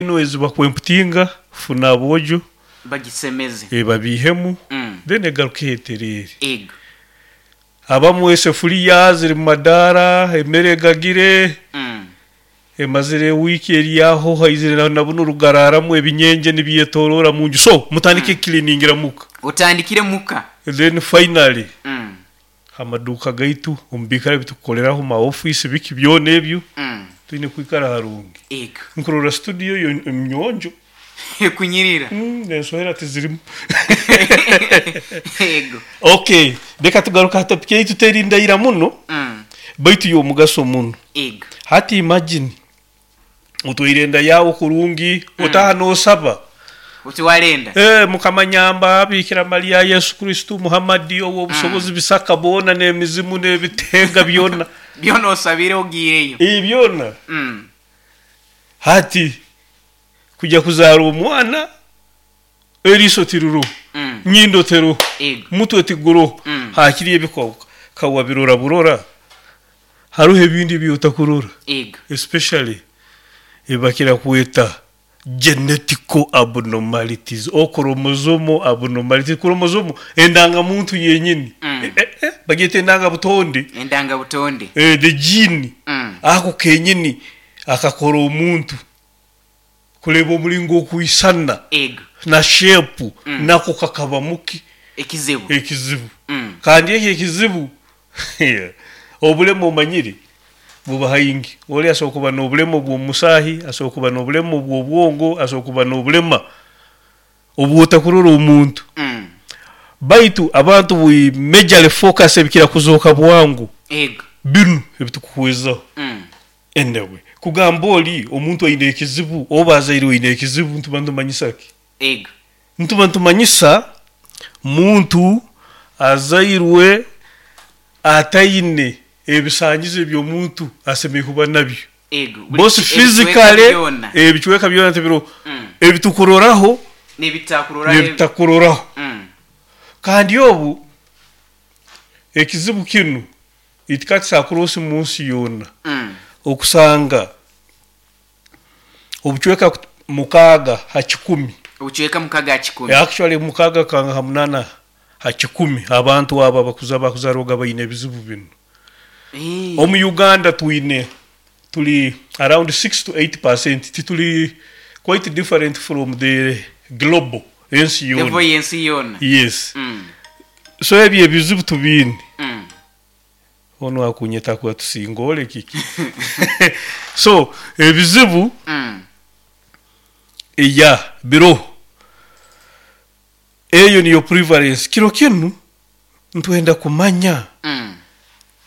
Enu ezi bakwemputinga funa aboojo Bagisemeze. babiihemu then egaruke etereere. Ego. Abamu esefuriya ziri mu madaara, emere egagire, emazire wiiki eri aho haizire na bunu rugaraaramu ebinyenje nibyetoroora mu nju. So mutandike kucleaningira muka. Otandikire muka. Then finally amaduuka gaitu, omu biikaro ebi tukukoreraho, ma office biki byona ebyo, twine kwikara harungi. Ego. Nkurora studio yo nyonjo. Ekunyirira. N'ensohera tizirimu. Ego. Okay, reka tugaruke aha topic yaitu teri ndaira muno, baitu y'omugaso muno. Ego. Hati imagine otwaire enda yaawe kurungi, otaaha n'osaba. Oti warenda. Mukama nyamba, Bikira Maria, Yesu Kristo, Muhammad, ow'obusobozi bisaka boona n'emizimu n'ebitenga byona. Byona osabire ogiireyo. Byona. Hati kujya kuzaara omwana, eriiso tiriroho, nyindo teroho, Ego. mutwe tiguroho, hakiri ebi kawabirora burora, haroho ebindi ebi otakurora. Ego. Especially ebibakira kweta genetical abnormalities or chromosomal abnormalities. Chromosomal endangamuntu yenyini. Bagyeta endangabutonde. Endangabutonde. The gene. Ako kenyini akakora omuntu kureeba omuringo okwisana Ego. na shape nako kakaba muki? Ekizibu. Ekizibu. Kandi eki ekizibu obulema omanyire buba haingi. Ori asobola kuba n'obulema obw'omusaahi, asobola kuba n'obulema obw'obwongo, asobola kuba n'obulema obwotakurora omuntu. Baitu abantu we majorly focus ebikira kuzooka bwangu. Ego. Binu ebitukuhwezaho. Anyway, kugamba ori omuntu aine ekizibu oba azairwe aine ekizibu nituba nitumanyisa ki? Ego. Nituba nitumanyisa muntu azairwe ataine ebisanyizo eby'omuntu asemeriire kuba nabyo. Ego. Both physically, ebicweka byona tibiroho. Ebitukuroraho n'ebitakuroraho. N'ebitakuroraho. Kandi obu ekizibu kinu it cuts across mu nsi yoona. Okusanga obucweka 6 ha 100. Obucweka 6 ha 100. Actually 6 kanga ha 8 ha 100 abantu abo abakuza bakuzarwaga baine ebizibu binu. Omu Uganda twine tuli around 6 to 8%, tituli quite different from the global ensi yoona. Level y'ensi yoona. Yes. So ebyo ebizibu tubiine. Onu akunyeta kuba tusingole kiki. So ebizibu ya biroho. Eyo niyo prevalence. Kiro kinu nitwenda kumanya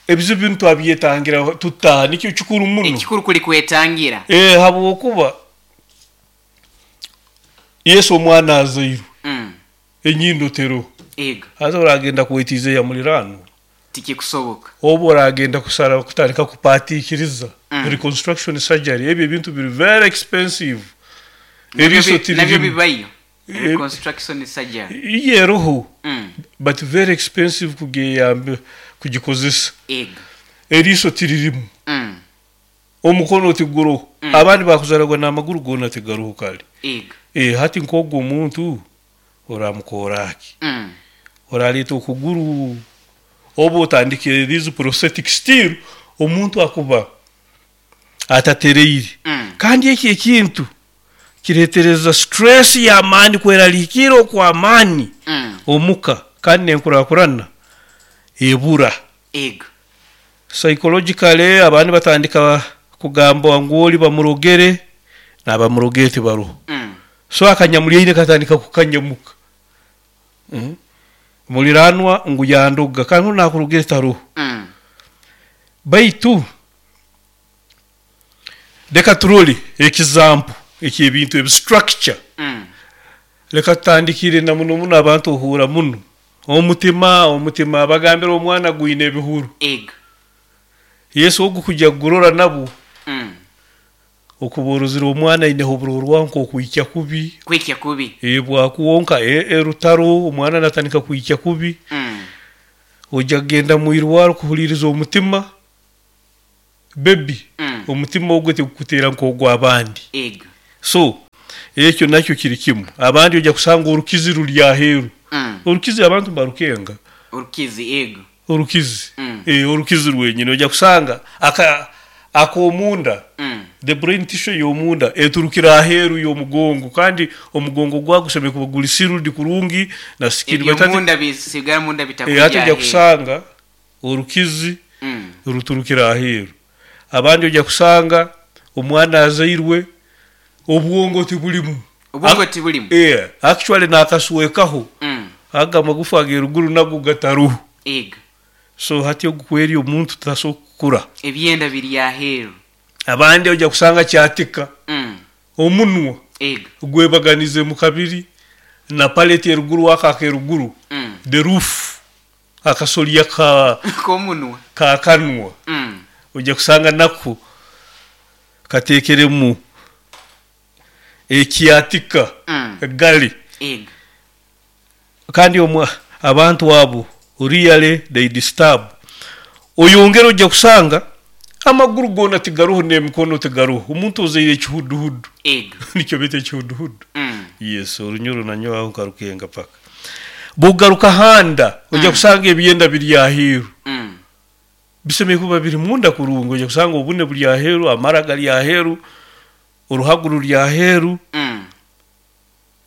ebizibu binu twabyetangira tuta, nikyo kikuru muno. Ekikuru kuli kwetangira. Habwokuba Yesu omwana azairwe. Enyindo teroho. Ego. Haza oragenda kwetiiza eya muliraano. Tikikusoboka. Obu oragenda kusara kutandika kupaatiikiriza reconstruction surgery, ebyo ebintu biri very expensive. Eriiso Nabyo tiririmu. bibayo. Reconstruction surgery. Iyo eroho. But very expensive kugeyamba kugikozesa. Ego. Eriiso tiririmu. Omukono tiguroho. Abandi bakuzaragwa n'amaguru goona tigaroho kare. Ego. Hati nk'ogwo omuntu oramukora ki? Oraleeta okuguru oba otandikire these prosthetic still omuntu akuba atatereire. Kandi eki ekintu kireetereza stress y'amaani, kweraliikirra okw'amaani omuka kandi n'enkurakurana ebura. Ego. Psychologically abandi batandika kugamba ngu ori bamurogere n'abamurogere tibaroho. So akanyamuryaine katandika kukanyamuka. Muliranwa ngu yandoga kandi onu nakurogere taroho. Baitu reka turole example eky'ebintu ebi structure. Reka tutandikire na muno muno abantu ohuura muno. Omutima, omutima bagambira omwana gwine ebihuru. Ego. Yesu ogu kujya kugurora nabwo. Okuba orozire omwana aineho oburorwaho nk'okwikya kubi. Kwikya kubi. Bwakwonka erutaro omwana natandika kwikya kubi. Ojya kugenda mu irwaro kuhuliiriza omutima. Baby, omutima ogwo tigukuteera nk'ogw'abandi. Ego. So ekyo nakyo kiri kimu. Abandi ojja kusanga orukizi ruri aheeru. Orukizi abantu mbarukenga. Orukizi, ego. Orukizi. Orukizi rwenyini ojja kusanga ak'omunda, the brain tissue ey'omunda eturukire aheeru y'omugongo, kandi omugongo gwago gusemeriire kuba guri sealed kurungi na skin. Ebyomunda bisigara munda bitakurya Hati ojja aheeru. kusanga orukizi ruturukire aheeru. Abandi ojja kusanga omwana azairwe obwongo tibulimu. Obwongo tibulimu. Actually nakaswekaho. Aga amagufa ag'eruguru nago gataruho. Ego. So hati ogu kweri omuntu tasobola kukura. Ebyenda biri aheeru. Abandi ojja kusanga kyatika. Omunwa gwebaganize mu kabiri na palate eruguru aka akeruguru. The roof akasolya ka K'omunwa. Ka kanwa. Ojja kusanga nako katekeremu ekyatika gali. Ego. Kandi abantu abo really they disturb. Oyongera ojja kusanga amaguru gona tigaruho n'emikono tigaruho. Omuntu ozaire ekihuduhudu. Ego. Nikyo bita ekihuduhudu. Yes, orunyoro nanyo aho nkarukenga paka. Bugaruka handa ojja kusanga ebyenda biri aheeru. Bisemeye kuba biri munda kurungi, ojja kusanga obune buri aheeru, amara gari aheeru, oruhago ruri aheeru.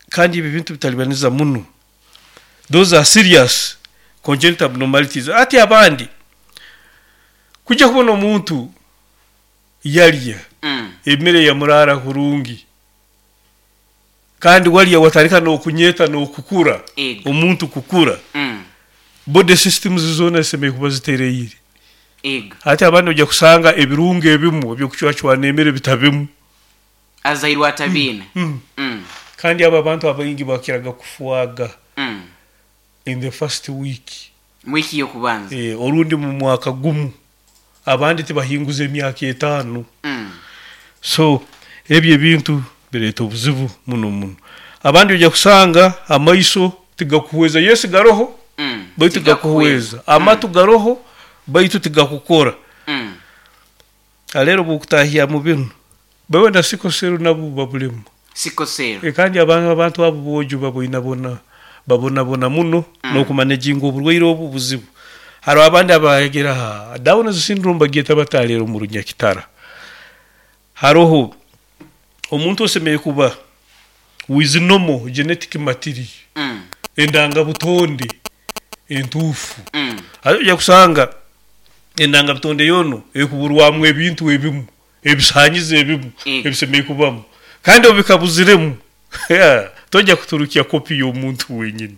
Kandi ebi bintu bitalibaniza muno. Those are serious congenital abnormalities. Ati abandi kujya kubona omuntu yarya emere yamurara kurungi, kandi warya watandika n'okunyeta n'okukura. Ego. Omuntu kukura. Body systems zona zisemeye kuba zitereire. Ego. Ati abandi ojja kusanga ebirungo ebimu ebyokucwacwana emere bitabimu. Azairwe atabiine. Kandi abo abantu abaingi bakiraga kufuaga in the first week. Mwiki y'okubanza. Orundi mu mwaka gumu. Abandi tibahinguza emyaka 5. So ebyo ebintu bireeta obuzibu muno muno. Abandi ojja kusanga amaiso tigakuhweza, yes garoho, baitu Tigakuhweza. tigakuhweza. Amatu garoho baitu tigakukora. Alero bukutahia mu binu. Bawe na sickle cell nabo babulemu. Sickle cell. Kandi abantu abo bojo babonabona babonabona muno n'okumanejinga oburwaire obu buzibu. Hariho abandi abayegera ha Down syndrome bagyeta batalero mu Runyakitara. Hariho omuntu osemeye kuba with normal genetic material. Endanga butonde entuufu. Hariho ojja kusanga endanga butonde yono ekuburwamu ebintu ebimu, ebisanyizo ebimu, ebisemeye kubamu. Kandi obikabuziremu, tojja kuturukya kopi y'omuntu wenyini.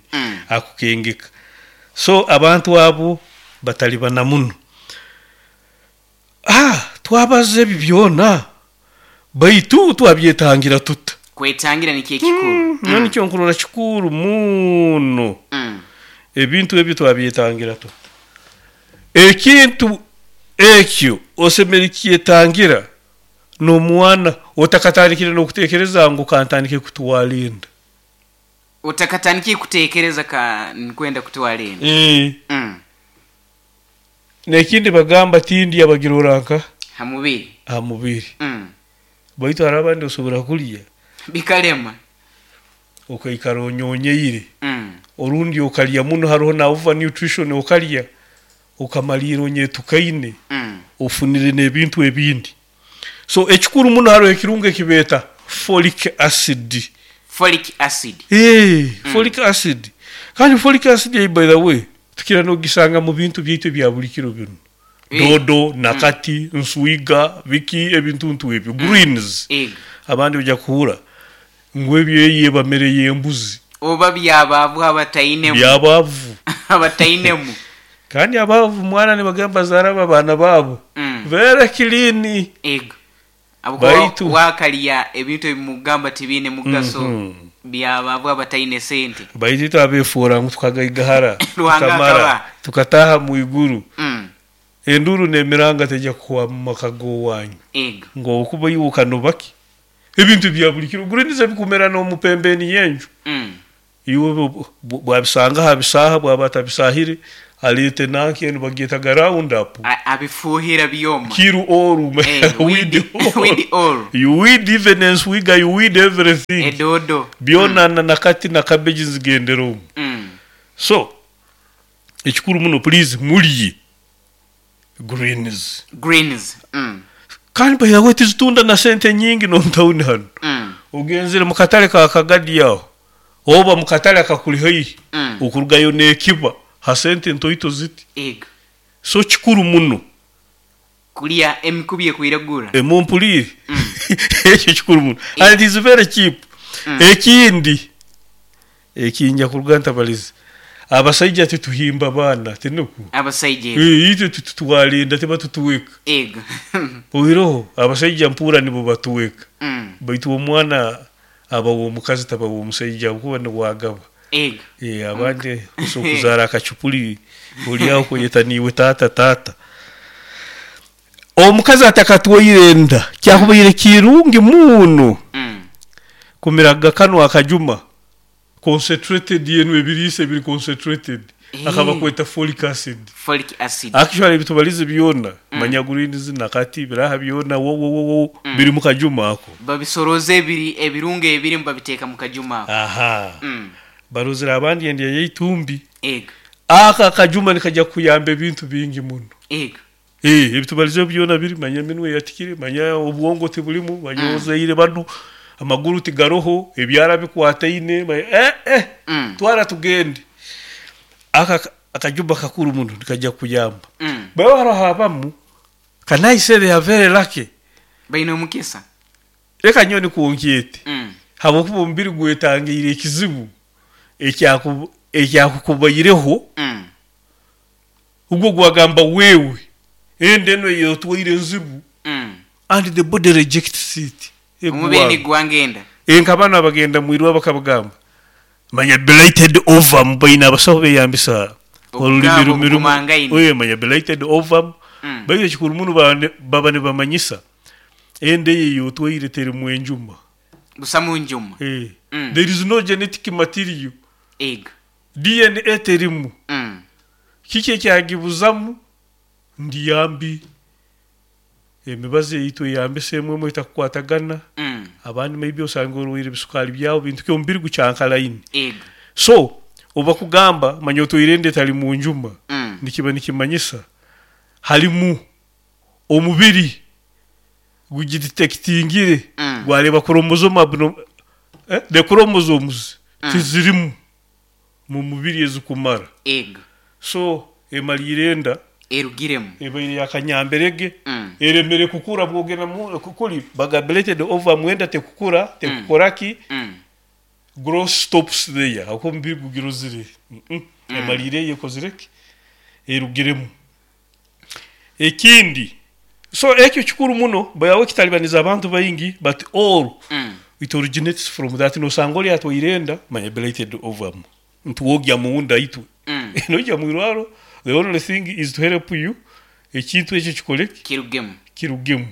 Akukengeka. So abantu abo batalibana muno. Twabaze ebi byona baitu twabyetangira tuta. Kwetangira ni kye kikuru. Nikyo nkurora kikuru muno. Ebintu ebyo twabyetangira tuta. Ekintu ekyo osemere kyetangira n'omwana otakatandikire n'okutekereza ngu kantandike kutwara enda. Utakatandikire kutekereza ka nkwenda kutwara enda. Nekindi bagamba tindi abagira oranka ha mubiri. Ha mubiri. Baitu hari abandi osobora kulya bikalema okaikara onyonyeire. Orundi okalya muno, hariho na over nutrition okalya okamalira onyetukaine. Ofunire n'ebintu ebindi. So ekikuru muno hariho ekirungo ekibeta folic acid. Folic acid. Folic acid. Kandi folic acid by the way tukira nogisanga mu bintu byaitu bya buli kiro bino. Dodo, nakati, nswiga, biki ebintu ntu ebyo, greens. Abandi ojja kuhura ngu ebyo eye bamere y'embuzi. Oba byabavu abatainemu. Byabavu. Abatainemu. Kandi abavu mwana ne bagamba zaraba abana babo. Very clean. Ego. Abo Baitu wakalya ebintu ebimugamba tibine mugaso. Byabavu abataine sente. Baitu twabefura ngu tukagaigahara, Ruhanga tukamara, akaba. tukataha mu iguru. Enduru n'emiranga tejja kuwa mu maka g'owanyu. Ego. Ngo okuba iwe okanobaki. Ebintu bya buli kiro greens bikumera n'omupembeni y'enju. Iwe bwabisanga ha bisaha, bwaba atabisahire, Aleete nanka enu bagyetaga round up. Abifuuhira byoma. Kill all. Weed, weed all. Weed all. You weed even enswiga, you weed everything. Edodo. Byona na nakati na cabbage nzigendera omu. So ekikuru muno, please mulye greens. Greens. Kandi by the way tizitunda na sente nyingi n'omu tawuni hanu. Ogenzere mu katale ka Kagadi aho oba mu katale akakuli haihi, okurugayo n'ekiba ha sente ntoito ziti. Ego. So kikuru muno kulya emikubi ekwiragura. Mumpuliire, ekyo kikuru muno and is very cheap. Ekindi ekinja kuruga ntabalize, abasaija tituhimba baana, tinuku? Abasaija ego. Itwe tututwara tibatutuweka. Ego. Oiroho abasaija mpuura nibo batuweka, baitu omwana aba w'omukazi, taba w'omusaija kuba niwagaba. Ego. Abandi osobola kuzaara akacupuli oli aho kweyeta niiwe taata taata. Omukazi atakatwaire enda, kyakubaire kirungi muno kumiraga kanu akajuma concentrated, yenu ebiriisa ebiri concentrated, akaba kweta folic acid. Folic acid. Actually ebitubalize byona, manya greens nakati biraha byona wo wo wo wo biri mu kajuma ako. Babisoroza ebiri ebirungo ebirimu babiteeka mu kajuma ako. Aha. Barozere abandi endya yeitumbi. Ego. Aka akajuma nikajya kuyamba ebintu bingi muno. Ego. Ebitubalize byona biri, manya eminwe yatikire, manya obwongo tibulimu, manya ozaire banu amaguru tigaroho, ebyara bikwataine, twara tugende. Aka akajumba kakuru muno nikajya kuyamba. Bawe haro abamu, can I say they are very lucky? Baine omukisa. Reka nyowe nikuwonkyete, habwokuba omubiri gwetangiire ekizibu ekyakukubaireho, ugwo gwagamba wewe enda eno eyotwaire enzibu, and the body rejects it. Omubiri Egwanga. nigwanga enda. Nka bano abagenda mwirwa bakabagamba manya blighted ovum, baine abasaho beyambisa olulimi Obugamba rumirumu. obugumangaine. Oye, manya blighted ovum. Baitu ekikuru muno baba nibamanyisa enda eyo eyotwaire terimu enjuma. Busamu njuma. There is no genetic material. Ego. DNA terimu. Kiki ekyagibuzamu? Ndiyambi emibazi eyitwe eyambisa emwe emwe etakukwatagana. Abandi maybe osanga orwaire ebisukaali byawe, bintu ki, omubiri gukyankalaine. Ego. So obakugamba manya otwaire enda etali mu njuma, nikiba nikimanyisa halimu omubiri gugidetectingire, gwareba chromosome the chromosomes tizirimu mu mubiri ezikumara. Ego. So emaliire enda erugiremu. Ebaire yakanyamberege, eremere kukura bwogenda kukuri baga blighted ovum, enda tekukura, tekukoraki. Growth stops there ako omubiri gugirozire. Emaliire eyekozireki, erugiremu. Ekindi, so ekyo kikuru muno bayawe kitalibaniza abantu baingi, but all it originates from that. Nosanga oli atwaire enda manya blighted ovum, ntuwogya muunda itwe, nojya mwirwaro, the only thing is to help you ekintu ekyo kikoleki? Kirugemu. Kirugemu.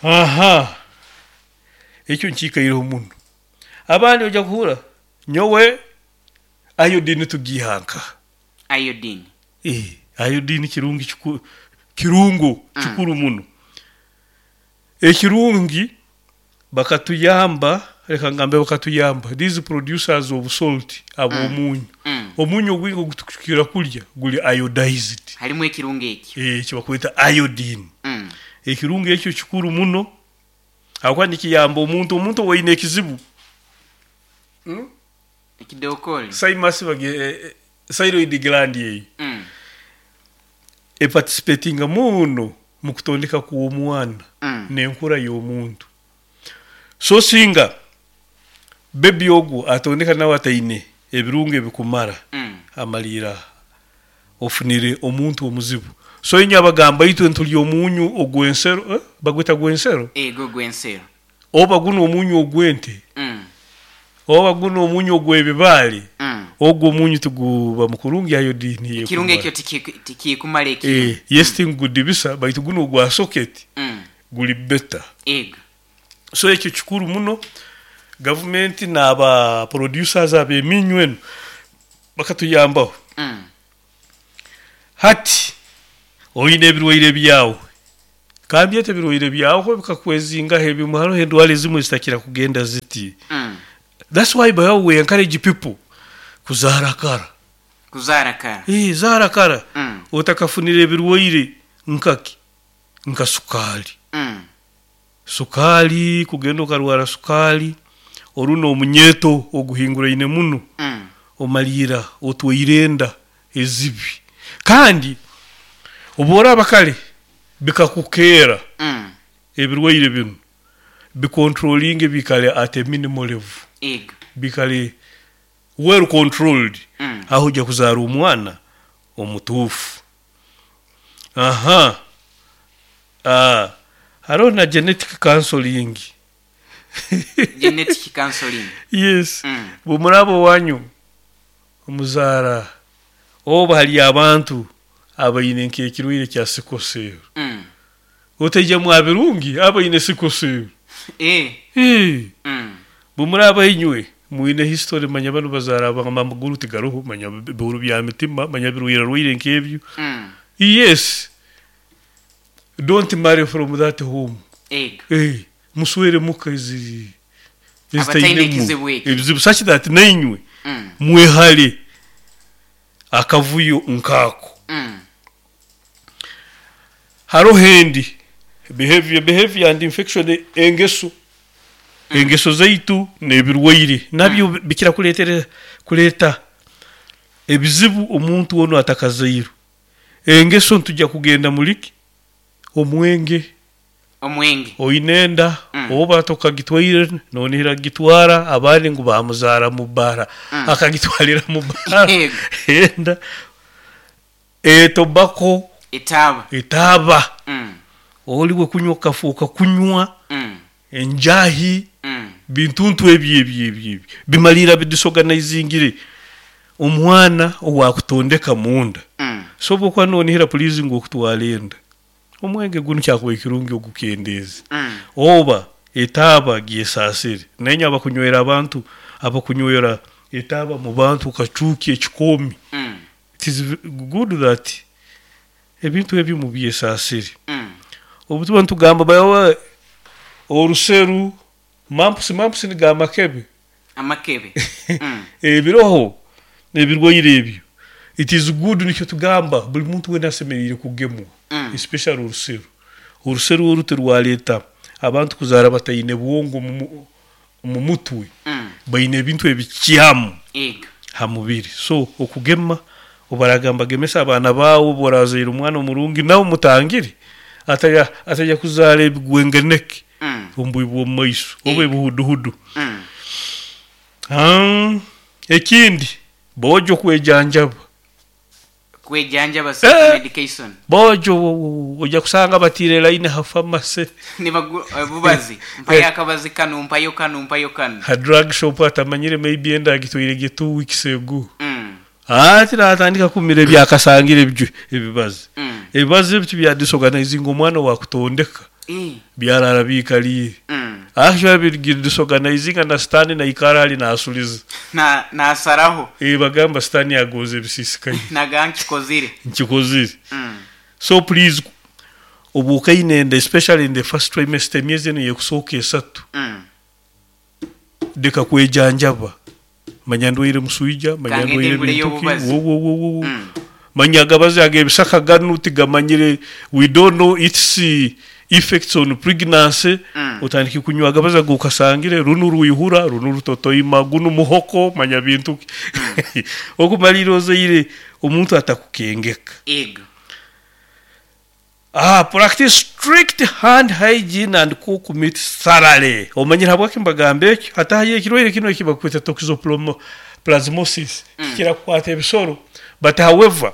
Aha, ekyo nkiikaireho muno. Abandi ojja kuhura nyowe iodine tugihanka. Iodine. Iodine kirungi kirungo kikuru muno ekirungi bakatuyamba, reka ngambe bakatuyamba these producers of salt, ab'omunyu. Omunyu ogwingi ogutukira kulya guli iodized. Harimu ekirungo ekyo. Kibakweta iodine. Ekirungo ekyo kikuru muno habwokuba nikiyamba omuntu owaine ekizibu. Ekidokoli. Thymus thyroid gland eyo eparticipatinga muno mu kutondeka kw'omwana n'enkura y'omuntu. So singa bebi ogu atondeka nawe ataine ebirungo ebikumara, amalira ofunire omuntu omuzibu. So inywe abagamba itwe ntulya omunyu ogw'ensero, bagweta gw'ensero. Ego, gw'ensero. Oba guno omunyu ogw'ente, oba guno omunyu ogw'ebibaale, ogwo omunyu tiguba mukurungi iodine Ekirungo yekumara. ekyo tikikumara ekyo. Yes, tingudibisa, baitu guno ogwa socket guli better. Ego. So ekyo kikuru muno, gavumenti n'aba producers ab'eminyu eno bakatuyambaho. Hati oine ebirwaire byawe, kambyete ebirwaire byawe ko bikakwezingaho ebimwe, haroho endwara ezimwe ezitakira kugenda ziti. That's why by we encourage people kuzaara kara. Kuzaara kara. Zaara kara. Otakafunire ebirwaire nkaki? Nka sukaali. Sukaali, kugenda okarwara sukaali, oru n'omunyeeto oguhinguraine muno, omaliira otwaire enda ezibi. Kandi obu oraaba kare bikakukeera ebirwaire binu, bikontrolinge biikale at a minimal level, biikale well controlled, aho oija kuzaara omwana omutuufu. Aha, haroho na genetic counseling. Genetic counseling. Yes. Bwemuraaba owanyu muzaara oba hariyo abantu abaine nk'ekirwaire kya sickle cell. Otaija mwa birungi abaine sickle cell. Bwemuraaba inywe mwine history manya banu bazaara amaguru tigaroho, manya bihuru bya mitima, manya birwaire nk'ebyo. Yes. Don't marry from that home. Muswere muka ezi Abataine ezitainemu ekizibu eki. Ebizibu such that nainywe mwehare akavuyo nkaako. Haroho endi behavior, behavior and infection, engeso. Engeso zaitu n'ebirwaire nabyo bikira kureetera kureeta ebizibu omuntu onu atakazairwe. Engeso nitujya kugenda muri ki? Omwenge. Omwenge. Oine enda, oba tokagitwaire nonihira kugitwara, abandi ngu bamuzaara mu bbaara, akagitwarira mu bbaara enda. Etobako. Etaaba. Etaaba. Ori we kunywa okafooka kunywa enjaahi, bintuntu ebyo ebyo ebyo ebyo bimaliira bidisorganizingire omwana owakutondeka munda. So obu okuba nonihira please ngu okutwara enda, omwenge gunu kyakubaire kirungi ogukendeeze oba etaaba gyesaasire. Nainywe abakunywera abantu, abakunywera etaaba mu bantu okacuukya ekikoomi, it is good that ebintu ebyo mubyesaasire. Obu tuba nitugamba by oruseru, mumps, mumps nigo amakebe. Amakebe. Ebiroho ebirwaire ebyo, it is good nikyo tugamba buli muntu weena asemeriire kugemwa, especially oruseru. Oruseru oru tirwareeta abantu kuzaara bataine bwongo omu mutwe, baine ebintu ebikyamu ha mubiri. So okugema, obu baragamba gemesa abaana baawe, obu orazaire omwana omurungi nawe omutangire ataija kuzaara ebigwengeneke omu bwire bw'omu maiso oba ebihuduhudu. Ekindi, boojo kwejanjaba. Kwejanjaba, self medication. Boojo oija kusanga batiire layini ha pharmacy. Obubazi, mpayo akabazi kanu, mpayo kanu, mpayo kanu. Ha drug shop atamanyire maybe enda agitwaire gye 2 weeks ago. Ati natandika kumira ebyakasangire ebyo ebibazi. Ebibazi ebyo tibya disorganizing omwana owakutondeka. Byarara biikaliire. Actually disorganizinga na sitaani naikara hali nasuliza. Na nasaraho. Bagamba sitaani agonza ebisisikaire. Naga nkikozire. Nkikozire. So please, obu okaine enda, especially in the first trimester, emyezi enu eyekusooka 3, leka kwejanjaba. Manya ndwaire muswija, manya Kangende ndwaire nguleyo bintu ki, obubazi. wo wo wo wo. Manya agabazi ag'ebisaka ganu tigamanyire, we don't know its effects on pregnancy. Otandike kunywa agabazi agu okasangire, runu rwihura, runu rutotoima, gunu muhoko, manya bintu ki. Okumaliira ozaire omuntu atakukengeka. Practice strict hand hygiene and cook meat thoroughly. Omanyire habwaki mbagamba ekyo? Hati hariyo ekirwaire kinu eki bakweta toxoplasmosis. Kikira kukwata ebisoro. But however,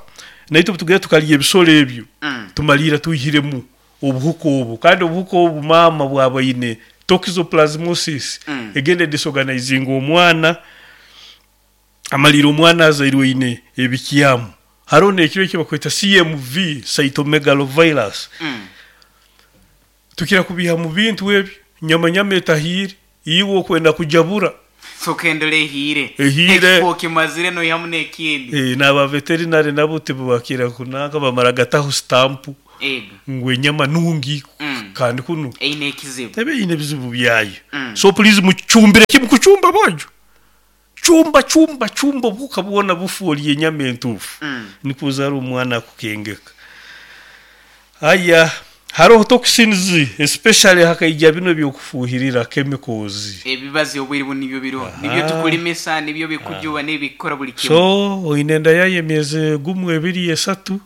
naitwe obu tugenda tukarya ebisoro ebyo, tumaliira twihiremu obuhuka obu. Kandi obuhuka obu maama bwaba aine toxoplasmosis, egenda edisorganizinga omwana, amaliire omwana azairwe aine ebikyamu. Haroho n'ekiro eki bakweta CMV, cytomegalovirus. Tukira kubiiha mu bintu ebyo, nyama nyama etahiire, iwe okwenda kujabura. Soka endole ehiire. Ehiire. Ekifo okimazire noihamu n'ekindi. Eh, n'aba veterinary nabo tibakira kunanka bamara gataho sitampu Ego. ngu enyama nungi kandi kunu Eine ekizibu. ebe eine ebizibu byayo. So please mucumbire kimu kucumba boojo. Cumba cumba cumba obuhuka bwona bufu orye enyama entuufu. Nikwo ozaara omwana akukengeka. Haya haroho toxins especially hakaija binu ebyokufuuhirira chemicals. Ebibazi obwire bunu nibyo biroho. Nibyo tukulimisa, nibyo bikujuba, nibikukora buli kimu. So oine enda yayo emyezi gumu, ebiri, esatu.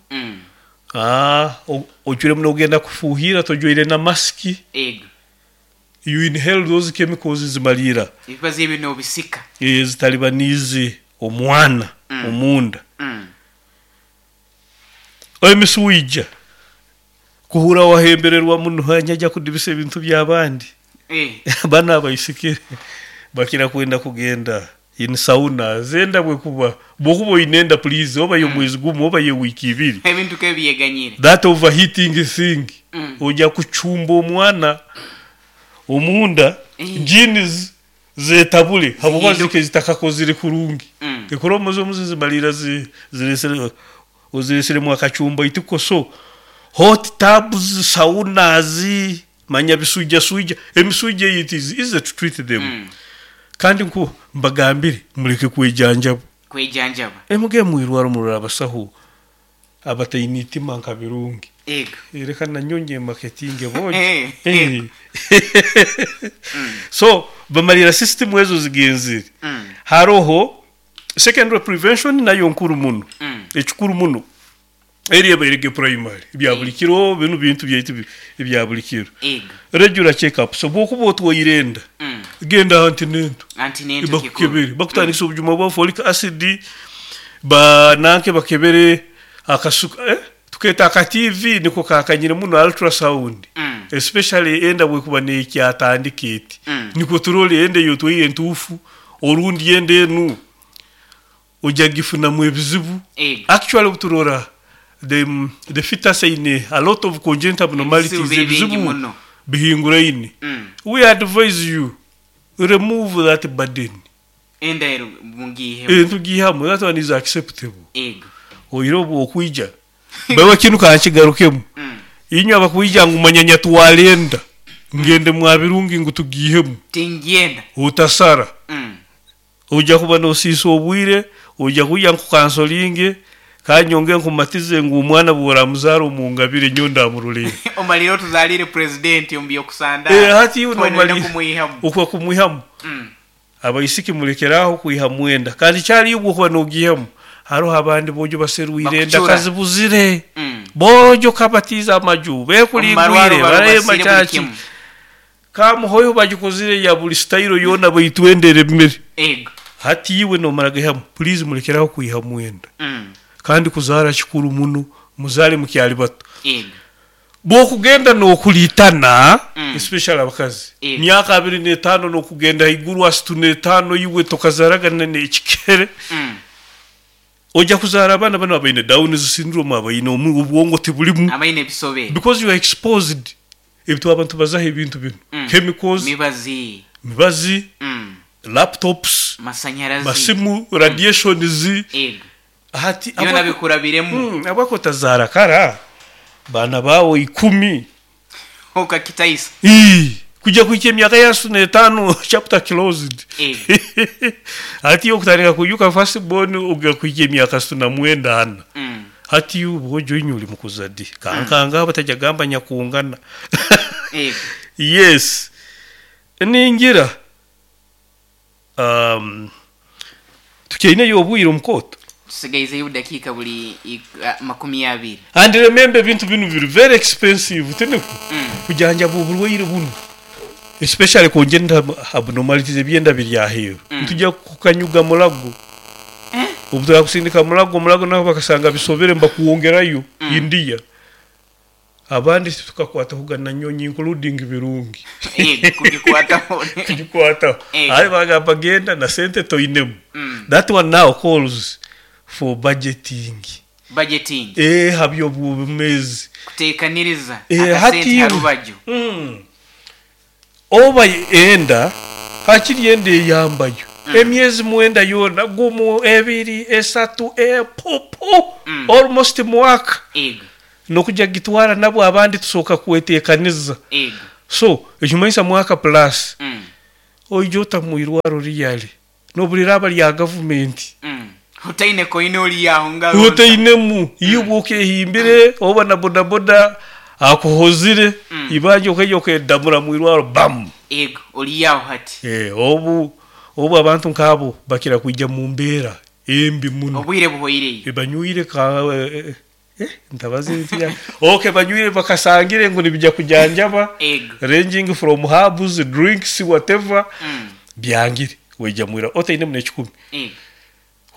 Ojwiremu nogenda kufuuhirra tojwaire na masiki. Ego. You inhale those chemicals zimaliira. Ebibazi ebyo nobisika. Zitalibaniize omwana omunda. Emisuija kuhurra wahembererwa muno haija kudibisa ebintu by'abandi. Banu abaisikire bakira kwenda kugenda in saunas enda bwekuba bwokuba oine enda please oba y'omwezi gumu oba y'ewiiki ibiri. Ebintu kebyeganyire. That overheating thing oja kucumba omwana omunda genes zetabule habwokuba zike zitakakozire kurungi. Echromosome zimalira ziresere ozireseremu akacumba itiko. So hot tubs, saunas, manya bisuija suija, emisuija it is easy to treat them. Kandi nku mbagambire muleke kwejanjaba. Kwejanjaba. Mugende mwirwaro murole abasaho abataine itima nka Birungi. Ego. Reka nanyonye marketing boojo. So bamalira system ezo zigenzire. Haroho secondary prevention nayo nkuru muno. Ekikuru muno. Eri ebairege primary ebya buli kiro binu bintu byaitu ebya buli kiro. Ego. Regular check up. So bwokuba otwaire enda genda antenatal. Antenatal kikuru. Bakukebere bakutandikisa obujuma bwa folic acid ba nanke bakebere akasuka tuketa aka TV niko kakanyire muno ultrasound. Especially enda bwekuba nekyatandika eti. Niko turole enda yotwaire entuufu orundi enda enu ojja gifunamu ebizibu. Ego. Actually obuturora the fetus eine a lot of congenital abnormalities, Ebizibu biri bingi ebizibu muno. bihinguraine. We advise you remove that burden. Enda ero mungihemu. Tugihamu, that one is acceptable. Ego. Oire obu okwija bawe kinu kankigarukemu. Inywe abakwija ngu manya nyatwara enda ngende mwa Birungi ngu tugihemu. Tingyenda. Utasara. Ojja kuba nosiisa obwire, ojja kwija nkukansolinge kanyonge nkumatize ngu omwana bworamuzaara omungabire nyowe ndamurorera. Omalire otuzalire president omu byokusandara. Hati iwe Twena nomali kumwihamu. okwa kumwihamu. Abaisiki mulekeraaho kwihamu enda kandi kyali ibwe okuba nogihamu. Haroho abandi bojo baserwire enda Bakucura. kazibuzire. Bojo kabatiza amaju bekulingwire Omumarwaro barema barubasire buli chaki. kimu. Kamuhoyo bagikozire ya buli style yona baitwendere emere. Ego. Hati iwe nomara gihamu please mulekeraho kwihamu enda. Kandi kuzaara kikuru muno muzale mukyali bato. Ego. Bwokugenda nokulitana especially abakazi. Ego. Myaka 25 nokugenda haiguru 35 iwe tokazaraga n'ekikere. Ojja kuzaara abaana bano abaine Down syndrome, abaine obwongo tibulimu. Abaine ebisobe. Because you are exposed. Ebintu abantu bazaho ebintu bino. Chemicals, Mibazi. mibazi, laptops, Masanyarazi. masimu, radiations. Ego. Hati Byona bikurabiremu. abako tazaara kara baana bawe 10. Okakitaisa. Kujja kuhika emyaka ya 65 chapter closed. Ego. Hati okutandika kuyuka first born ogera kuhika emyaka 64. Hati ubwojo inyu uli mukuzadi. Kankanga batajya gamba nyakungana. Ego. Yes. Ningira tukyaine yobwire omukoto. Tusigaizeyo dakika buli 20. And remember ebintu binu biri very expensive tiniko. Kujanjaba oburwaire buno. Especially congenital abnormalities ebyenda biri aheeru. Ntujya kukanyuga mulago. Obu kusindika mulago mulago nabo bakasanga bisobere mbakuwongerayo India. Abandi tukakwata kugana nyonyi including Birungi. Ego kugikwataho. Kugikwataho. Aye bagamba genda na sente toinemu. That one now calls for budgeting. Budgeting. Habyo bumezi. Kutekaniriza akasente Hati harubaju. Oba enda hakiri enda eyambayo. Emyezi 9 yoona, gumu, ebiri, esatu, pupu, almost mwaka. Ego. N'okujya kugitwara nabwo abandi tusooka kweteekaniza. Ego. So, ekimanyisa mwaka plus. Oija ota mu irwaro riyale n'obu liraaba rya gavumenti. Otaine koine ori aho ngaro nsa. Otainemu, iwe okehimbire oba na bodaboda akuhozire, ibanja okaija okedamura mu irwaro bam! Ego, ori aho hati. Obu abantu nk'abo bakira kwija mu mbeera embi muno. Obwire buhoireyo. Banywire ka ntabaza ebintu bya okay banywire bakasangire ngu nibija kujanjaba. Ego. Ranging from herbs, drinks, whatever. Byangire waija mwira otainemu n'ekikumi. Ego.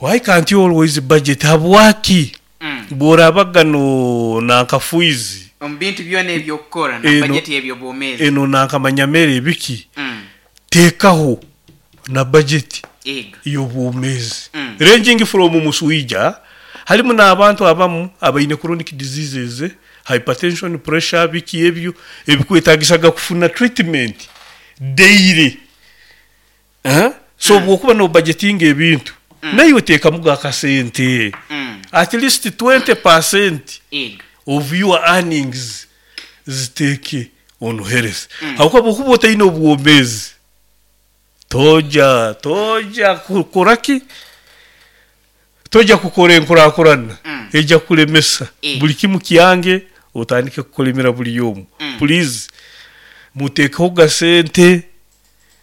Why can't you always budget? Habwaki bw'orabaga no nanka fuizi Omu bintu byona eby'okukora na eno budget y'eby'obwomeezi. Eno nanka manyamere ebiki, teekaho na budget Ego. y'obwomeezi. Ranging from muswija, harimu n'abantu abamu abaine chronic diseases, hypertension, pressure, biki ebyo ebikwetaagisaga kufuna treatment daily. So bw'okuba no budgetinga ebintu, naiwe teekamuga akasente. At least 20% Ego. of your earnings ziteeke on health. Habwokuba bw'okuba otaine obwomeezi, toja toja kukora ki? Toja kukora enkurakurana eija kukulemesa. Buli kimu kyange otandike kukulemera buli omu. Please muteekeho ga sente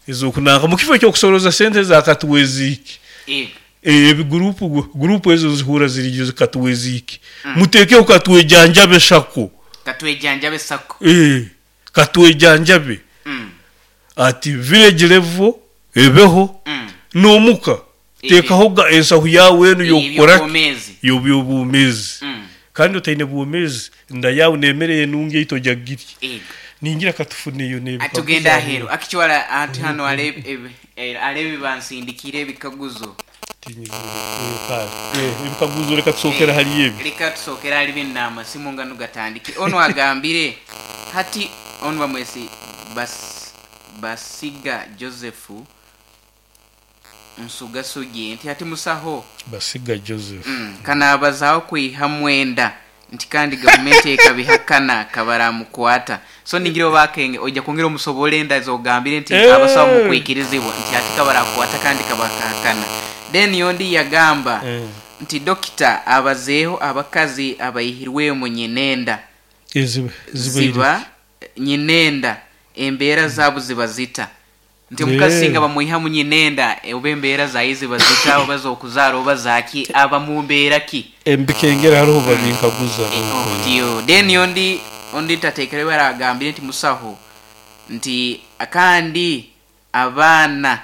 ez'okunanka mu kifo ky'okusoroza sente za katuweziiki. Ego. Ebi gurupu gurupu ezo nzihurra ziriyo zikatuweziiki. Muteekeho katwejanjabe sako. Katwejanjabe sako. Katwejanjabe. Ati village level ebeho n'omuka teekaho ga ensahu yaawe enu y'okukora ki? Ey'eby'obwomeezi. Y'eby'obwomeezi. Kandi otaine bwomeezi, nda yaawe n'emere enungi ei tojya kugirya. Ego. Ningira katufuneyo n'ebikaguzo Atugenda aheeru. aheeru. Akichwara ati hano arebe ebibansindikire ebikaguzo. Ebikaguzo reka tusookere hali ebi. Reka tusookere hali binu n'amasimu nganu gatandike. Onu agambire hati onu bamwesi Basiga Joseph Nsugasugi nti hati musaho. Basiga Joseph. Kanaabazaho kwiha mwenda nti kandi gavumenti ekabihakana kabaramukwata. So ningira oba akenge oija kwongera omusobole enda zogambire nti abasaho mukwikirizibwa nti hati kabarakwata kandi kabakahakana. Then yondi yagamba nti dokita abazeeho abakazi abaihirwemu nyinenda. Ziba nyinenda embeera zaabo ziba zita. Nti omukazi singa bamwihamu nyinenda oba embeera zaye ziba zita oba z'okuzaara oba zaki aba mu mbeera ki? Embikengera hariho babinkaguza. Otyo. Then ondi tateekere baragambire nti musaho nti kandi abaana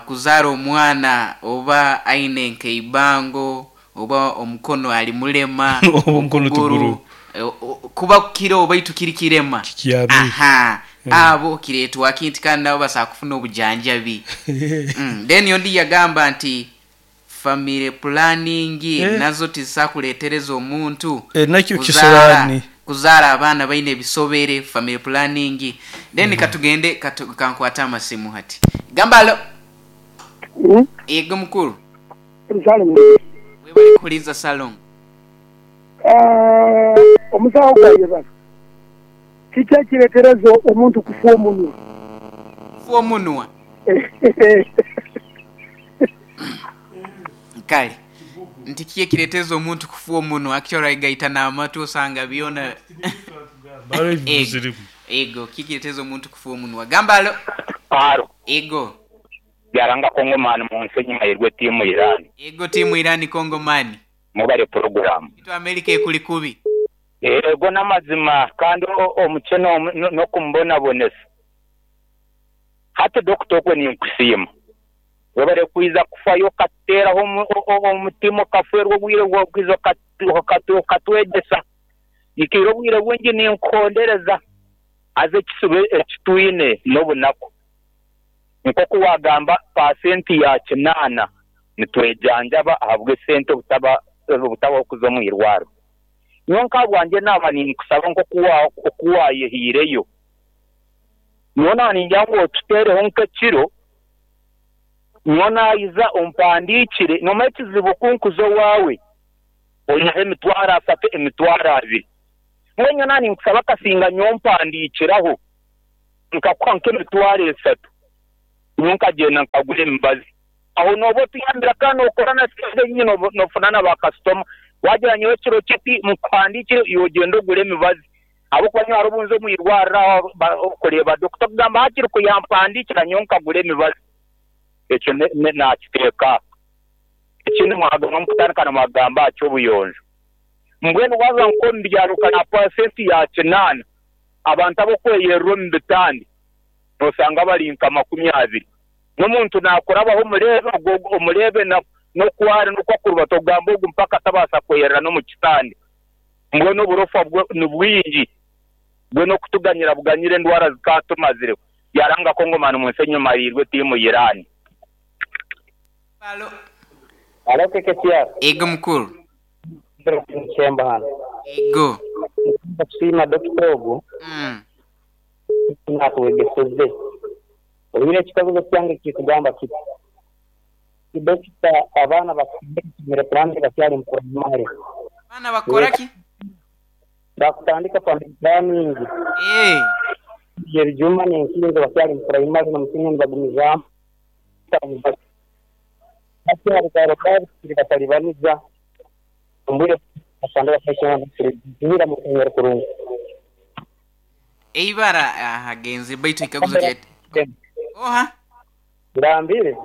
kuzaara omwana oba aine nk'eibango oba omukono ali mulema, Oba omukono okuguru, tuguru. Kuba kukira oba itu kiri kirema. Kikyami. Aha. Abo kireetwa ki nti kandi nabo basobola kufuna obujanjabi. Then ondi yagamba nti family planning nazo tizisakuleetereza omuntu Nakyo kisiraani. Kuzaara abaana baine ebisobere family planning. Then katugende kankwate amasimu hati. Gamba alo. Ego mukuru. Salongo. Webale kuhuliiriza Salongo. Omusawo gwayebala, kiki ekiretereza omuntu kufa omunwa? Kufa omunwa? Kale, nti kiki ekiretereza omuntu kufa omunwa? Actually aigaita n'amatu osanga byona. Ego. Ego, kiki ekiretereza omuntu kufa omunwa? Gamba alo. Alo. Ego. Byaranga Kongomani mu nsi enyuma yerwe tiimu Iran. Ego tiimu Iran Kongomani. Mwebale puroguraamu. Itu America ekuli kubi. Ego n'amazima kandi omukyene n'okumubonabonesa. Hati Dokita okwo ninkusiima. Webale kwiza kufayo okatuteeraho omutima okafeerwa obwire bwawe okwiza okatwegyesa. Nyikaire obwire bwingi ninkuhondereza haza ekisibo eki twine n'obunaku. Nk'oku waagamba paasenti ya kinaana nitwejanjaba ahabw'esente obutabaho kuza omu irwariro. Nyowe nk'ahabwangye naaba ninkusaba nk'okuwaayehaireyo. Nyowe naaba ningira ngu otuteereho nk'ekiro. Nyowe naiza ompandiikire, nomanya ekizibu ku nkuza owaawe oihaho emitwaro asatu, emitwaro abiri. Mbwenu nyowe naninkusaba kasinga nyowe ompandiikiraho nkakuha nk'emitwaro esatu, nyowe nkagyenda nkagura emibazi. Aho nooba otuyambira kandi nookora na sente nyingi noofuna na baakasitoma. Waagira nyowe ekiro kiti nkuhandiikire iwe ogyende ogure emibazi. Ahabw'okuba nyowe hariho obu nza omu irwariro aho kureeba dokita akugamba hakiri ku yampandiikira nyowe nkagura emibazi. Ekyo naakiteeka aha. Ekindi mwagaruka mukutandika nimwagamba aha ky'obuyonjo. Mbwenu waaza nk'omu byaro nka na paasenti ya kinaana abantu ab'okweyerera omu bitanda noosanga bari nka 20. N'omuntu naakurabaho omureebe ogwo omureebe n'oku ari n'oku akurubata ogambe ogu mpaka tabaasa kweyerera n'omu kitanda. Mbwenu oburofa bwo ni bwingi bwena okutuganyira buganyire endwara zikaatumazireho. Yaranga Kongomani munsi enyumariirwe tiimu Iran. Alo. Alo KKTR. Ego mukuru. Kihembo hanu. Ego. Nkwenda kusiima dokita ogu natwegeseze. Oine ekikaguzo kyange kikugamba kiti, Dokita abaana bakutandika family planning bakyali mu primary. Abaana bakukora ki? Bakutandika family planning. Ebijuma n'enkinzo bakyali mu primary na mu senior nibagumizaamu. Hati hariho kurungi. Eibara agenze baitu ekikaguzo kya Oha? Ngambire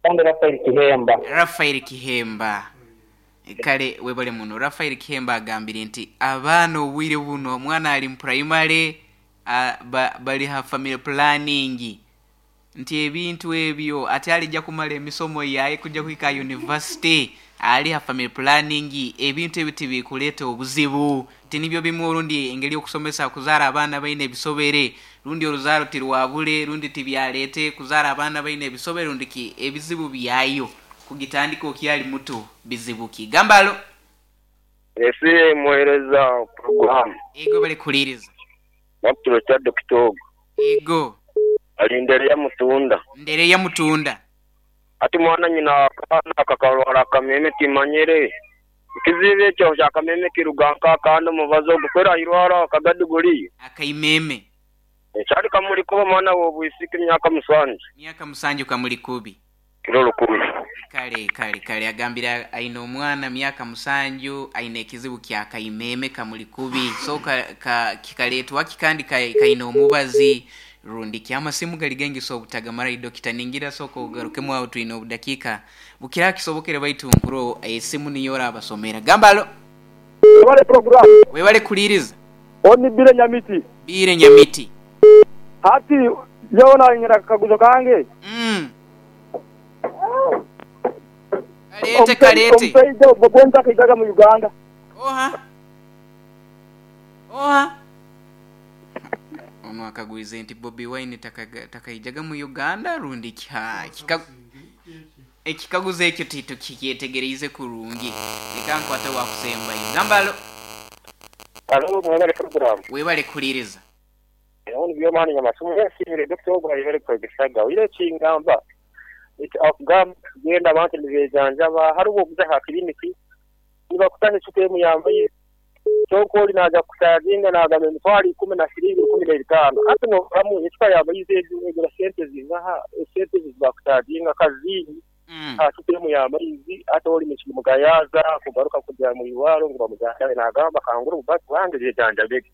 kandi Rafael Kihemba. Rafael Kihemba. Kale webale muno. Rafael Kihemba agambire nti abaana obwire buno omwana ali mu primary bali ha family planning nti ebintu ebyo ati alija kumala emisomo yaye kuja kuhika university ali ha family planning ebintu ebyo tibikuleeta obuzibu tinibyo bimwe orundi engeri y'okusomesa kuzaara abaana baine ebisobere rundi oruzaaro tirwabure rundi tibyaleete kuzaara abaana baine ebisobere rundi ki ebizibu byayo kugitandika okyali muto bizibu ki gamba alo. Ese muhereza puroguramu. Ego bali kuhuliriza. Nakuturo kya dokita ogu. Ego. Ali Ndereya Mutunda. Ndereya Mutunda. Hati mwana nyina akaana kakarwara akameme timanyire. Ekizibu ekyo kya kameme kiruga nka kandi omubazi ogwo kwera airwara akagadiguri. Akaimeme. Ekyali kamuli kuba mwana w'obwisiki myaka musanju. Myaka musanju kamuli kubi. Kiro lukumi. Kale kale kale agambira aine omwana myaka musanju aine ekizibu kya kaimeme kamuli kubi so ka, kikaletwa ki kandi kaine omubazi rundi ki amasimu gali gengi so obutagamara dokita ningira soko ogarukemu aho twine obudakiika bukira kisobokere baitu nkuro esimu niyo orabasomera gamba alo. Webale program. Webale kuliriza. Oni Bire Nyamiti. Bire Nyamiti. Hati nyowe nanyina akakaguzo kange. Kaleete kaleete. Omusaija ogwo gwenta akaijaga mu Uganda. Oha? Oha? Ono akagwize nti Bobi Wine takaijaga mu Uganda rundi ki? Ekikaguzo ekyo titukyetegereize kurungi. Leka nkwate wakusembayo. Gamba alo. Alo, mwebale program. Webale kuliriza. Ono byomani nyamasimu yasimire dokita ogwo ayebale kwegesaga. Oire kingamba. Akugamba kugenda abantu nibejanjaba hariho okuza ha kiliniki nibakutaha ecupa emu yambaire kyonka ori naija kukucaginga nagamba emitwaro ikumi na shiringi rukumi na ebitaano hati noramu ecupa yamaizi egura sente zingaha esente ezi zibakucaginga kazingi ha cupa emu y'amaizi hati ori nikimugayaza kugaruka kujya mu irwaro ngu bamujanjabe nagamba kangure obubazi bwange byejanjabege.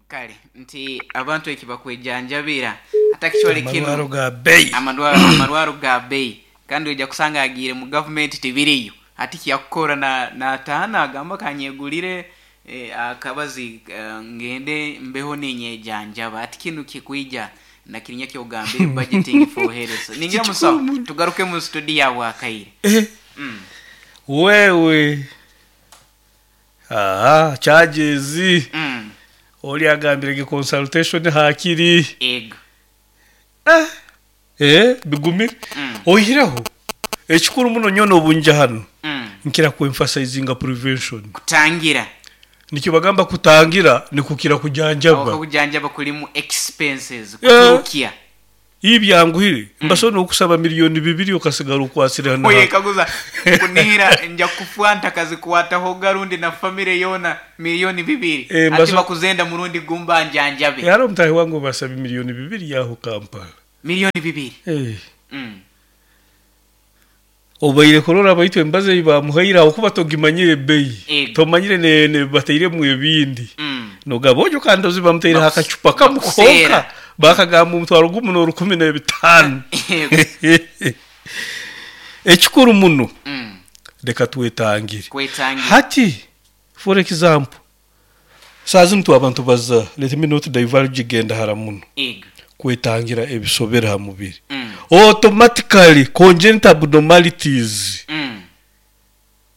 Kale nti abantu eki bakwejanjabira atakishwale kinu Amarwaro ga bei. Amarwaro ga bei kandi oija kusanga agiire mu gavumenti tibiriyo ati kyakukora nataha agamba kanyegulire akabazi ngende mbeho ninyejanjaba ati kinu kikwija na kirinya kyogambire budgeting for health ningira musawo tugaruke mu studio yawe akaire. Wewe aha charges. Oli agambire ge consultation hakiri. Ego. Bigumire. Oihireho ekikuru muno nyono obunja hano. Nkira ku emphasizinga prevention. Kutangira. Nikyo bagamba kutangira nikukira kujanjaba. Aho kujanjaba kulimu expenses kuturukia. Ibyanguhire mbasobola n'okusaba 2 miliyoni okasigara okwasire hano. Oyekaguza kunihira nja kufa ntakazikwatahoga rundi na famire yoona 2 miliyoni ati bakuzenda murundi gumba njanjabe. Haro omutahi wange basaba 2 miliyoni yaho Kampala. 2 miliyoni. Eh. Obaire kurora baitu embazo ei bamuhaire aho kuba togimanyire ebbeyi, tomanyire ne batairemu ebindi, nogamba ojo kandi ozi bamutaireho akacupa kamu Bakuseera. konka bakagamba 1,015. Ekikuru muno, leka twetangire. Kwetangira. Hati for example, saa zinu twe abantu baza, let me not diverge, genda hara muno, kwetangira ebisobere ha mubiri, automatically congenital abnormalities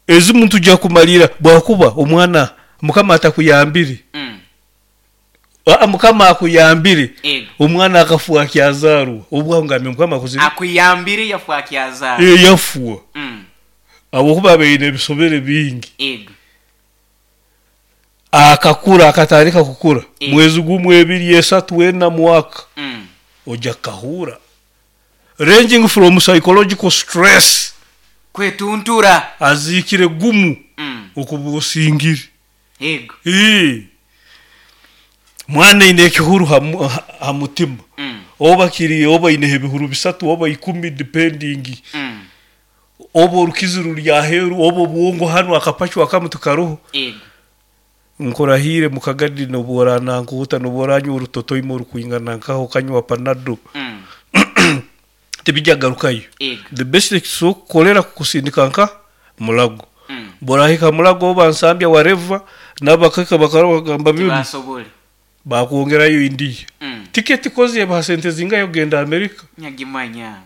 ezimu tujja kumalira bwakuba omwana Mukama atakuyambire. Aa, Mukama akuyambire, omwana akafua akyazarwa, obwaho ngambye Mukama akuzire. Akuyambire yafa akyazaarwa. Eh, yafua habwokuba abaine ebisobere bingi. Akakura, akatandika kukura, mwezi gumu, 2, 3, 4, mwaka, ojja kukahura ranging from psychological stress, kwetuntura, aziikire gumu, okuba osingire. Ii. Mwana aine ekihuru ha mutima, oba kiri oba aineho ebihuru 3 oba 10 depending, oba orukizi ruri aheeru oba obwongo hanu akapachu akamu tikaroho. Nkurahire mukagadi, nobu oranankuuta, nobu oranywa orutotoima orukwingana nkaho, okanywa Panado, tibijja kugarukayo. The best ekitusobora kukukolera kukusindika nka Mulago. Bworahika Mulago oba Nsambya, wareva nabakaka bakarora bagamba binu Tibasobole. Bakwongerayo India. Tiketi kozi ebaha sente zingahe kugenda Amerika? Nyagimanya.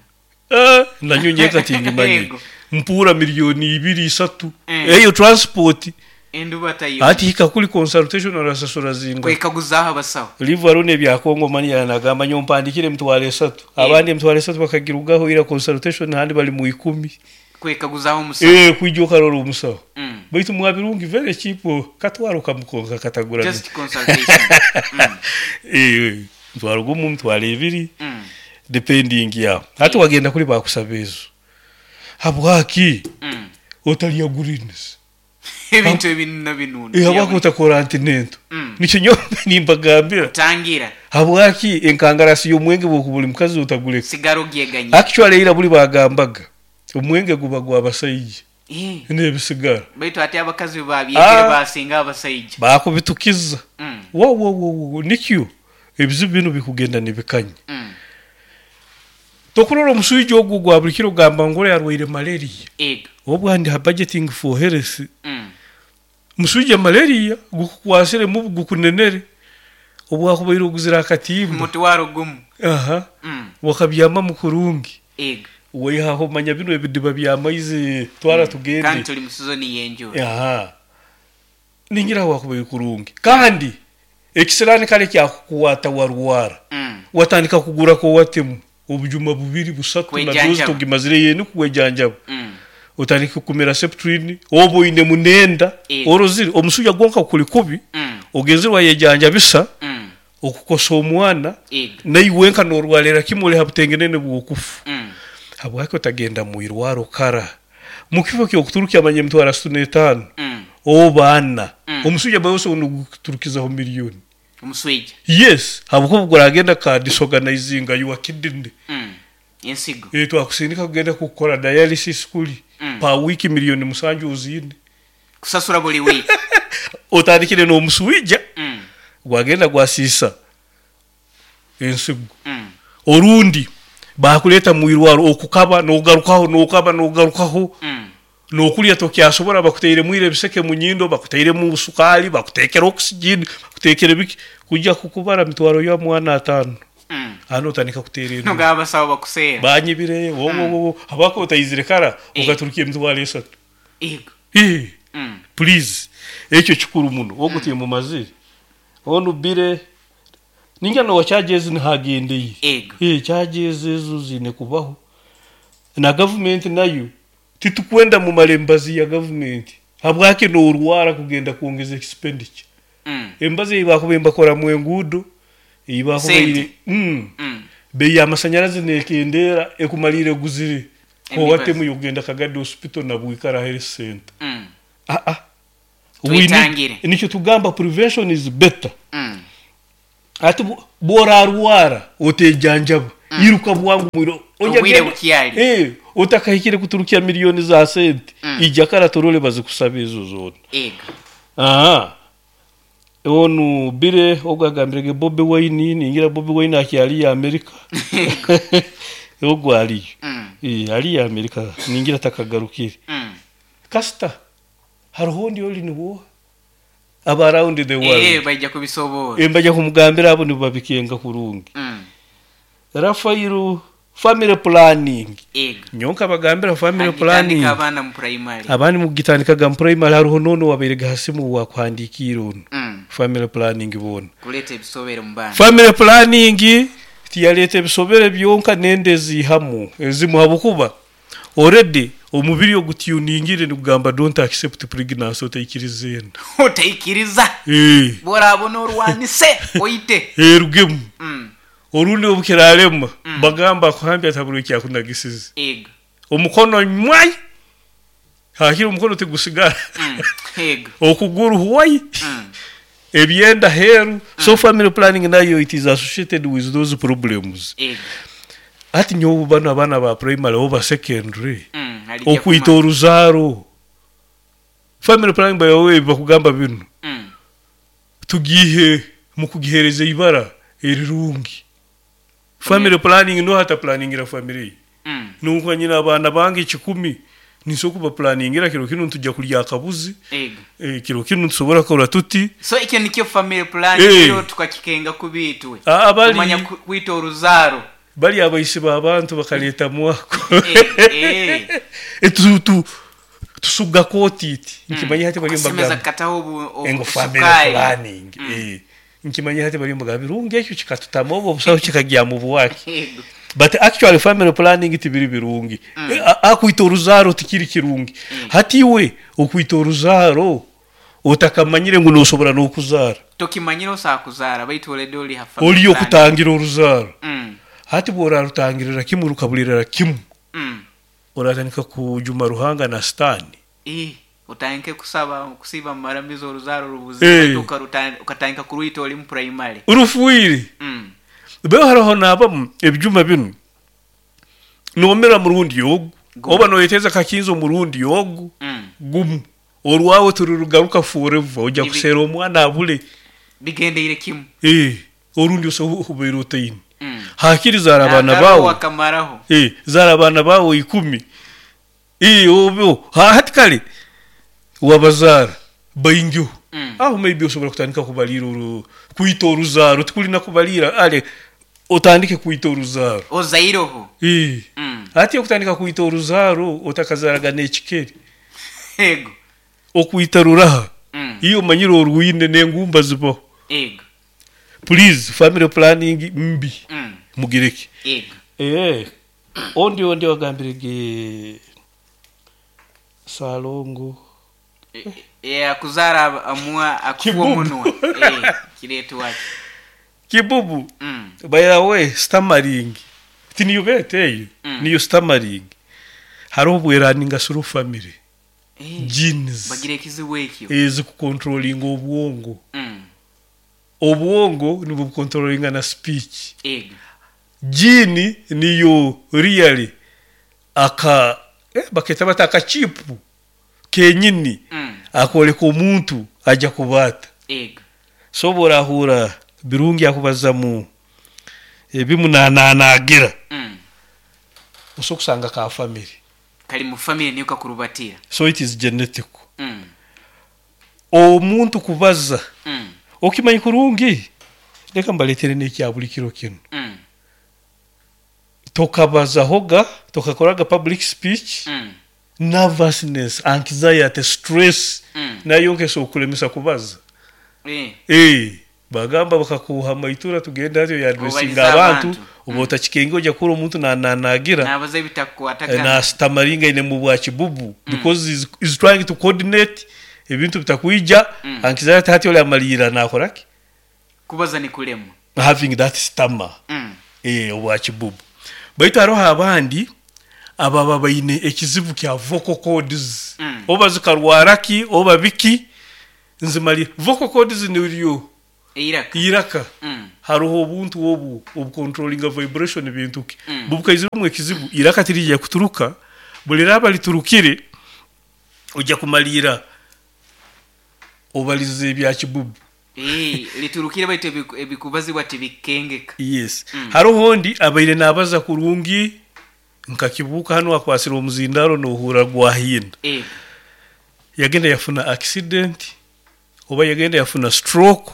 Eh, nanyo nyeka tingimanye. Mpura 2 miliyoni, 3. Eyo transport. Endubata yo. Ati hika kuli consultation orasasura zinga. Kwekaguzaho abasaho. Leave alone ebya Kongo mani yanagamba nyo mpandikire 30,000. Abandi 30,000 bakagirugaho ira consultation handi bali mu 10. Kwekaguzaho omusaho. Eh, kwijja okarora omusaho. Baitu mwabirungi very cheap, katwaro kamukonka katagura. Just consultation. Eh, 1,000, 20,000, depending yaho. Hati wagenda kuli bakusaba ezo. Habwaki otalya greens? Ebintu ebinu na binu. Eh, habwaki otakora antenatal? Nikyo nyowe nimbagambira. Tangira. Habwaki enkangarasi y'omwenge bwokuba buli mukazi otaguleka? Sigaro gyeganya. Actually ira buli bagambaga omwenge guba gw'abasaija n'ebisigara. Baitu ate abakazi babyegere basinga abasaija. Bakubitukiza. Wo wo wo wo nikyo ebizibu binu bikugenda nibikanya. Tokurora omuswija ogwo gwa buli kiro gamba ngu yarwaire malaria. Obwo ndi ha budgeting for health. Muswija malaria gukukwasire mubu gukunenere obwakubaire oguzire akatimba 1,000. Aha. Wakabyamamu kurungi. Waihaho manya bino ebidiba by'amaizi twara tugende. Kandi tuli mu sizoni y'enjura. Aha, ningira wakubaire kurungi kandi ekisirani kale kyakukwata warwara, watandika kugura Coartem obujuma bubiri, busatu na dozi. Kwejanjaba. Togimazire yeni kwejanjaba, otandika kumira Septrin oba oine munenda. Orozire omusuja gwonka kuli kubi, ogenzere wayejanjabisa, okukosa omwana, naiwe nka norwarira kimwe oli ha butengenene bw'okufa. Habwaki otagenda mwirwaro kara mukifo kyokuturukya manya 65,000 oba 4,000? Omusuja bawe osobola noguturukizaho miliyoni. Omuswija. Yes, habwokuba guragenda ka disorganizinga your kidney. Ensigo. Eh, twakusindika kugenda kukora dialysis kuli pa wiki 7 miliyoni oziine. Kusasura buli wiki. Otandikire n'omuswija, gwagenda gwasiisa ensigo. Orundi bakuleta mwirwaro okukaba nogarukaho, nokaba nogarukaho, nokulya tokyasobora, bakutairemu ira ebiseke mu nyindo, bakutairemu sukali, bakutekera oxygen, bakutekera biki, kujja kukubara mitwaro ya mwana 5,000. Hano otandika kuteera enduuru. Nogaba abasawo bakuseera. Banyibire wo wo wo, habwako otayizire kara okaturukia 30,000. Eh, please, ekyo kikuru muno ogutiye mu maziri onu bire ninga no charges nihagendeye. Eh, charges ezo zine kubaho na government nayo titukwenda mu malembazi ya government. Habwaki norwara kugenda kuongeza expenditure? Embazi ei bakuba mbakora mu enguudo ei bakubaire Sente. Bei y'amasanyarazi nekendeera ekumalire eguzire Emibazi. owatemu yokugenda Kagadi Hospital na Bwikara Health Center. Ah, ah. We need- Twetangire. Nikyo tugamba prevention is better. Ati bworarwara otejanjaba, iruka bwangu mwiro. Ojja Obwire genda- bukyali. Otakahikire kuturukya miliyoni za sente, ijja kara torole bazikusaba ezo zona. Ego. Aha, onu bire ogwagambirege Bobi Wine, ningira Bobi Wine akyali ya Amerika, ogwo aliyo. Ali ya Amerika, ningira takagarukire. Kasita hariho ondi oli niwo aba around the world. Bajja kubisobola. Embajja kumugambira abo nibabikenga kurungi. Rafairo, family planning. Ego. Nyonka bagambira family Agitandika planning. Abaana mu primary. Abandi mugitandikaga mu primary, hariho nono wabairega hasimu wakuhandikiire ono. Family planning bona. Kuleeta ebisobere mu baana. Family planning tiyaleeta ebisobere byonka, nende eziihamu ezimu, habwokuba already omubiri ogutuningire nigugamba don't accept pregnancy, otaikiriza enda. Otaikiriza. Bworabona orwanise oite. Erugemu. Orundi obukiralema bagamba akuhambya taburo ekyakunagisize. Ego. Omukono nywai, hakiri omukono tigusigara. Ego. Okuguru huwai, ebyenda heru. So family planning nayo, it is associated with those problems. Ego. Ati nyowe bano abaana ba primary oba secondary, Alijja okwita kumanya. oruzaaro, family planning bayowe bakugamba bino, tugihe mukugihereza ibara erirungi. Family planning no hata planningira family, nuko nyina abaana bange 10 niso kuba planningira kiro kino ntujja kulya akabuzi. Ego. Kiro kino ntusobora kora tuti. So ekyo nikyo family plan. Rero tukakikenga kubitwe. Ah, Tumanya kwita oruzaaro. Bali abaisi b'abantu bakaleta mwako. Tusuga kotiti nkimanya hati bali Akasemeza mbagamba kataho engo family obusukali. planning. Nkimanya hati bali mbagamba birungi ekyo kikatutama obwo obusaho kikagya mu bwaki. Ego. But actually family planning tibiri birungi. Akwita oruzaaro tikiri kirungi. Hati iwe okwita oruzaaro otakamanyire ngu nosobora n'okuzaara. Tokimanyire osakuzaara baitu already oli ha family Oli planning. okutangira oruzaaro, hati bworarutangirira kimu rukabulirira kimu, oratandika kujuma Ruhanga na sitaani. Otandike kusaba kusiba mumaramizo oruzaaro rubuze. Baitu ukatandika kurwita oli mu primary. Rufuire. Beho hariho nabamu ebijuma binu nomera murundi ogu, oba noyeteza kakinzo murundi ogu, gumu orwawe tururugaruka forever, ojja kusera omwana abule. Bigendeire kimu. Orundi osoboire otaine, hakiri zara abaana Nakaro bawe. Wakamaraho. Zara abaana bawe 10. Obyo hati kale wabazaara baingiho. Aho maybe osobora kutandika kubalira kwita oruzaaro, tikulina kubalira ale otandike kwita oruzaaro. Ozairoho. Ati okutandika kwita oruzaaro otakazaraga n'ekikeri. Ego. Okwita ruraha, iyo omanyire orwine n'engumba zibaho. Ego. Please, family planning mbi. Mugireke. Ego. Ondi wagambirege Salongo. Akuzara amua akuwa Kibubu. munwa. Kiretu waki. Kibubu. By the way, stammering tiniyo bete eyo, niyo stammering hariho obweraninga through family genes. Bagira ekizibu ekyo. Ezikucontrollinga obwongo. Obwongo nibwo bucontrollinga na speech. Ego. Gene niyo really aka baketa bata akachipu kenyini, akoleka omuntu ajja kubaata. Ego. So borahura birungi akubazamu ebimunananagira, osobola kusanga ka family. Kali mu family niyo kakurubatira. So it is genetic. Omuntu kubaza, okimanyi kurungi, leka mbaletere n'ekya buli kiro kino. Tokabazahoga, tokakoraga public speech, nervousness, anxiety, stress, nayo nkesa okulemesa kubaza. Bagamba bakakuha maitura tugenda hatyo yadressinga Obaliza abantu, abantu. Oba otakikenge ojja kura omuntu nananagira. Nabaza ebitakukwatagana. Na stamaringa ine mu bwa kibubu, because is trying to coordinate ebintu bitakwija. Anxiety hati oli amalira nakoraki. Kubaza ni kulema. Having that stammer. Obwa kibubu. Baitu haroho abandi ababa baine ekizibu kya vocal cords, oba zikarwara ki oba biki, nzimali vocal cords niryo Eiraka. Iraka. Haroho obuntu obu obucontrollinga vibration bintu ki, bubukaiziremu ekizibu, iraka tirija kuturuka, buli riraaba liturukire ojja kumaliira obalize ebya kibubu. Liturukire baitu ebikubazibwa tibikengeka. Yes. Haroho ondi abaire nabaza kurungi nka Kibuuka hanu akwasire omuzindaaro nohuurra gwahinda. Yagenda yafuna accident oba yagenda yafuna stroke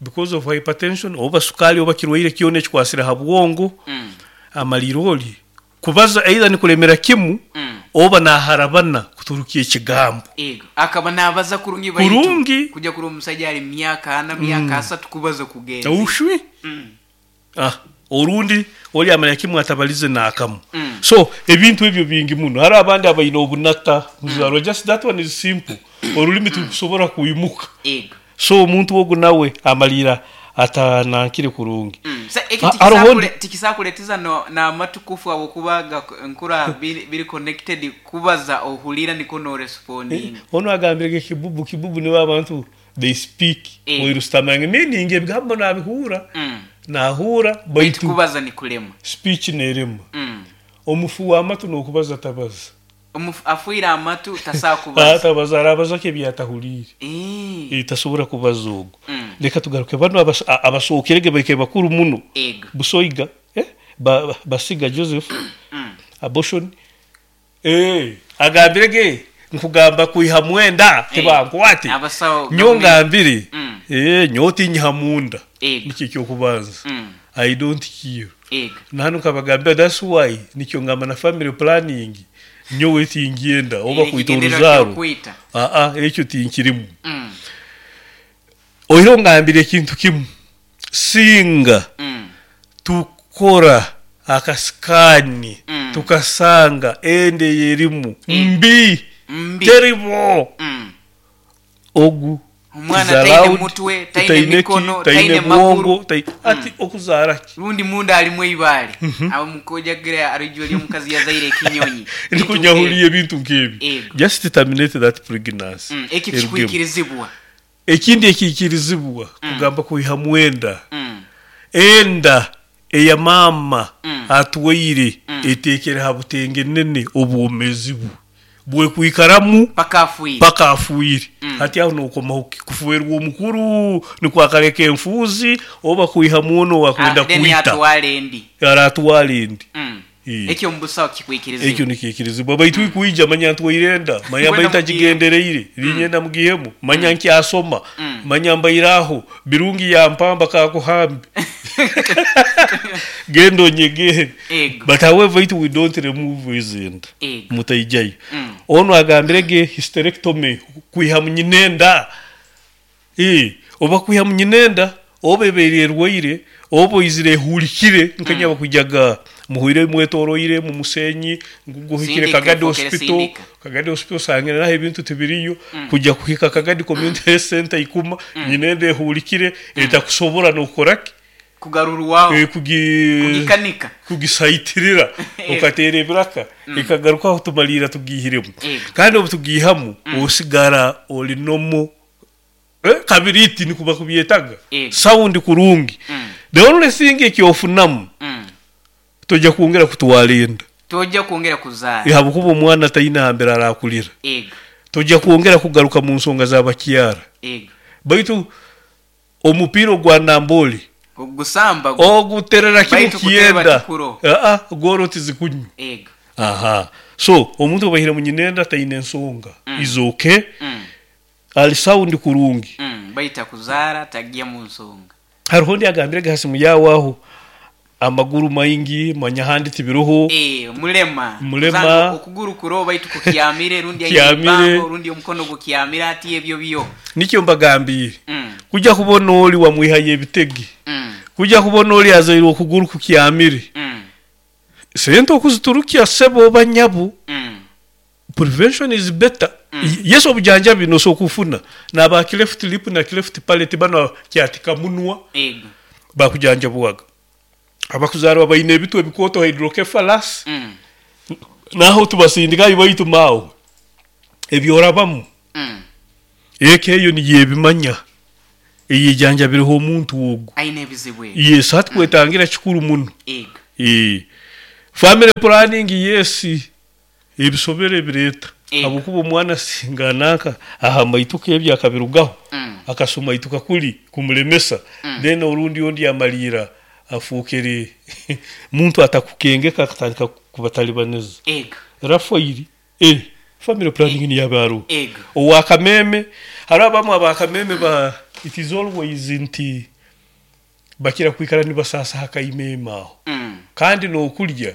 because of hypertension oba sukaali oba kirwaire kyona ekikwasire ha bwongo, amaliire ori kubaza either nikulemera kimu oba naharabana kuturukya ekigambo. Ego, akaba nabaza kurungi baitu Kurungi. kuja kurora omusaija ali myaka ana, myaka asatu kubaza kugenzi. Ushwi. Orundi ori amanya kimu atabalize n'akamu. So ebintu ebyo bingi muno. Hariho abandi abaine obunata muzarwa, just that one is simple. Orulimi tirukusobora kwimuka. Ego. So omuntu ogu nawe amaliira atanankire kurungi. Sa eki Haroho ondi tikisakuleteza n'amatu kufa habwokuba nkura biri connected kubaza ohuliira nikwo norespondinga. Onu agambire kibubu, kibubu nibo abantu they speak oirusitamanga meaning ebigambo nabihuura, nahuura Baitu baitu kubaza nikulema. Speech nerema. Omufu w'amatu n'okubaza tabaza. Omufu afuire amatu tasobola kubaza. Tabaza, arabaza ki ebyatahuliire? Tasobora kubaza ogu. Leka tugaruke banu abasookerege baikaire bakuru muno. Ego. Busoiga, Basiga Joseph, abortion. Agambirege nkugamba kwiha mwenda tibankwate. Abasawo Nyo ngambire, nyowe tinyiha munda. Ego. Nikyo ekyokubanza. I don't kill. Ego. Nahanu nkabagambira that's why nikyo ngamba na family planning nyowe tingyenda oba kwita Ekigendererwa oruzaaro. ky'okwita. Ekyo tinkirimu. Oihireho ngambire ekintu kimu, singa tukora akasikaani tukasanga enda eyerimu mbi, Mbi. terrible. Ogu Omwana is taine allowed, mutwe, taine taine ki, mikono, taine taine bwongo, maguru. ati okuzaara ki? Rundi munda alimu eibaale. Abo mukojagira arijwa ly'omukazi yazaire ekinyonyi. Nikunyahuriye ebintu nk'ebyo. Ego. Just terminate that pregnancy. Ekyo Erugemu. kikwikirizibwa. Ekindi ekiikirizibwa kugamba kwiha mwenda. Enda eya maama atwaire eteekere ha butengenene obwomezi bwe bwekwikaramu Paka afuire. Paka afuire. Hati aho nokomaho ki? Kufuerwa omukuru nikwo akaleka enfuuzi oba kwiha mwono owakwenda Then kwita. atwara endi. Aratwara endi. Ekyo omu busaho kikwikirizibwa. Ekyo nikiikirizibwa. Baitu kwija manya ntwaire enda, manya Kwenda mbaire mugihemu. ntagigendereire, niinyenda mugihemu, manya nkyasoma, manya mbaire aho, birungi yampamba kakuhambe. Genda onyegere. Ego. But however it we don't remove his enda. Ego. Mutaijayo. Onu agambire ge hysterectomy kwiha munyinenda. Oba kwiha munyinenda, oba ebeire erwaire, oba oizire ehulikire, nkanya bakujaga muhuire mwetoroire mu musenyi, nguguhikire Sindika, Kagadi fokere Hospital, sindika. Kagadi Hospital sangire naho ebintu tibiriyo, kujja kuhika Kagadi Community Health Center ikuma, nyinenda ehulikire, etakusobora n'okukora ki? Kugarurwaho. Kugikanika. Kugisaitirira, okateera ebiraka, ekagarukaho tumaliira tugihiremu. Kandi obu tugihamu, osigara ori nomo. Kabiriti nikuba kubyetaga. Sound kurungi. The only thing ekyofunamu, tojja kwongera kutwara enda. Tojja kwongera kuzaara. Habwokuba omwana taine hambere arakulira. Ego. Tojja kwongera kugaruka mu nsonga z'abakyara. Ego. Baitu omupiira ogwa Nambole ogusamba oguterera kimu Baitu kuteba kyenda. tikuro. Goro tizikunywa. Ego. Aha. So omuntu obaihire mu nyinenda taine ensonga. Is okay. Ali sound kurungi. Baita kuzaara tagiya mu nsonga. Hariho ndi agambire gasi muyawaho amaguru maingi manya handi tibiroho. Mulema. Mulema. Kuzanga okuguru kuro baitu kukyamire rundi aine Kyamire. bango rundi omukono gukyamire ati ebyo byo. Nikyo mbagambiye. Kujja kubona oli wamwihaye ebitege. Kujja kubona oli azaire okuguru kukyamire. Sente okuziturukia sebo banyabu. Prevention is better. Yesu obujanjabi noso kufuna. Na ba cleft lip na cleft palate bano kyatika munwa. Ego. Bakujanjabwaga. Abakuzarwa baine ebitwe ebikooto, hydrocephalus. Naho tubasindikayo, baitu maawe ebyorabamu, eka eyo niyo ebimanya eyejanjabireho omuntu ogu. Aine ebizibu ebi. Yes, hati kwetangira kikuru muno. Ego. Family planning, yes, ebisobero ebireeta. Ego. Habwokuba omwana singa nanka aha maituka ebyo akabirugaho, akasumaituka kuli kumulemesa, then orundi ondi amaliira afuukere muntu atakukengeka, akatandika kubatalibaniza. Ego. Rafairi, family planning niyo aba aroho. Ego. Owakameme, hariho abamu abakameme ba it is always nti bakira kwikara nibasasa hakaimeme aho. Kandi n'okulya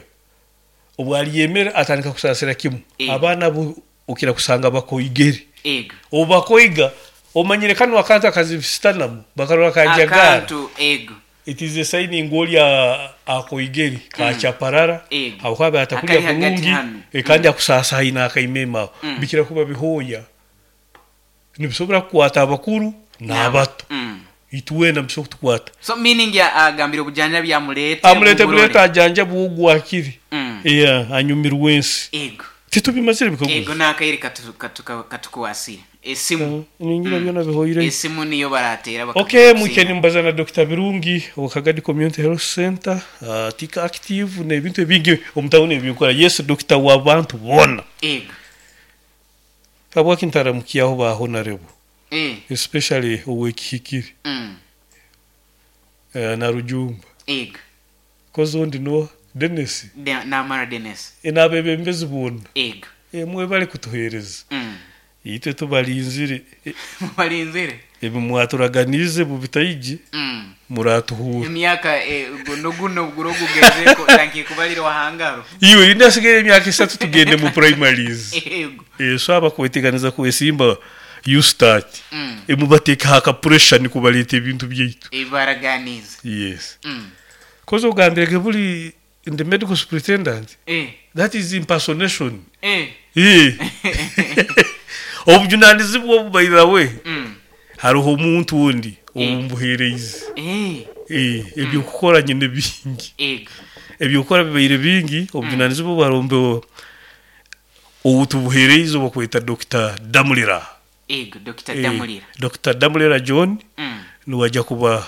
obwalyemera atandika kusasira kimu. Abaana bo okira kusanga bakoigere. Ego. Obu bakoiga, omanyire kanu akantu akazibisitanamu bakarora kajagara. Akantu, ego. It is a sign ngu oli akoigere kachaparara. Ego. Habwokuba atakulya Akali hagati kurungi, hanu. kandi akusasa haina akaimeme aho. Bikira kuba bihooya nibisobora kukwata abakuru n'abato. Itwena bisobora kutukwata. So meaning ya agambire obujanjabi amulete. Amulete. Mumurore. Buleta ajanja bwogwakiri. Yeah, anyumirwe ensi. Ego. Titubimazire bikaguzo. Ego, n'akaire katukuwasire esimu. Ningira byona bihoire. Esimu niyo baratera. Okay, mwike nimbaza na Dr. Birungi wa Kagadi Community Health Center, tika active n'ebintu ebingi omutawuni ebikora. Yes, Dr. w'abantu bona. Ego. Habwaki ntaramukiyaho ba honorable? Especially owekihikiri. Na Rujumba. Ego. Kozi ondi no Dennis. Namara Dennis. N'abebembezi bona. Ego. Mwebale kutuhereza. Itwe tubalinzire. Mubalinzire. Ebi mwaturaganize bubitaiji. Muratuhura. Emyaka guno guno guro gugezeko tanki kubalira wahangaro. Iwe indasigaye emyaka 3 tugende mu primaries. Ego. So abakweteganiza kwesimba, you start. Emubateeka haka pressure nikubaleta ebintu byaitu. Ibaraganiza. Yes. Kozo ogambirege buli in the medical superintendent. That is impersonation. Obujunanizibwa obu, by the way, hariho omuntu ondi obumbuhereize. Ebyokukora nyine bingi. Ego. Ebyokukora bibaire bingi, obujunanizibwa bwarombe obu tubuhereize obakweta Dr. Damulira. Ego, Dr. Damulira. Dr. Damulira John. Niwajya kuba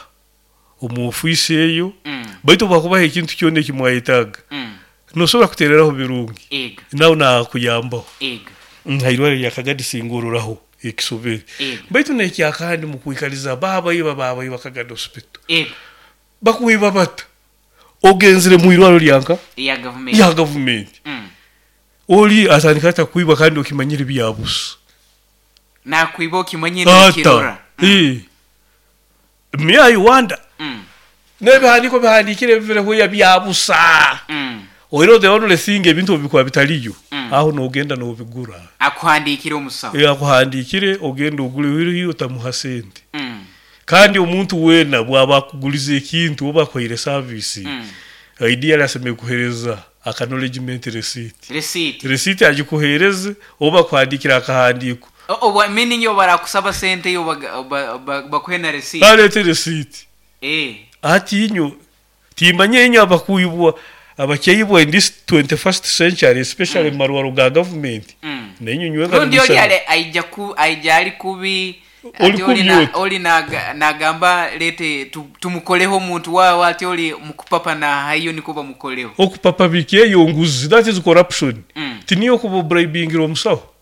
omu ofiisi eyo. Baitu bakubaha ekintu kyona ekimwayetaaga, nosobora kutereraho Birungi. Ego. Nawe nakuyambaho. Ego. Hairwara lya Kagadi singororaho ekisobere. Ego. Baitu nekyakandi mukwikaliza baabaiba baabaiba Kagadi Hospital. Ego. Bakuiba bata ogenzere mu irwaro lyanka ya gavumenti. Ya gavumenti. Oli atandika ata kuiba kandi okimanyire byabusa? Nakwiba okimanyire. Ata kirora. Me I wonder, n'ebihandiiko bihandikire bivireho ya byabusa. Oiro the only thing, ebintu obikuba bitaliyo, aho nogenda nobigura. Akuhandikire omusawo. Akuhandikire ogenda ogule wiriyo otamuha sente. Kandi omuntu wena bwaba akuguliza ekintu oba akwaire service, ideally asemere kuhereza acknowledgement receipt. Receipt. Receipt agikuhereze oba kuhandikira akahandiko. Oba meaning yo barakusaba sente yo bakuhe na receipt. Alete receipt. Ati inyo timanye inyo abakuyibwa abakyeyibwa in this 21st century, especially marwaro ga government. Nenyo nywega. Rundi oli ale aija ku aija ali kubi. Oli Ati kubi oli na, oti. oli nagamba lete tumukoleho omuntu wawe, ati oli mukupapa na hayo niko bamukoleho. Okupapa biki? Eyo nguzi, that is corruption. Tiniyo kuba bribingira omusawo.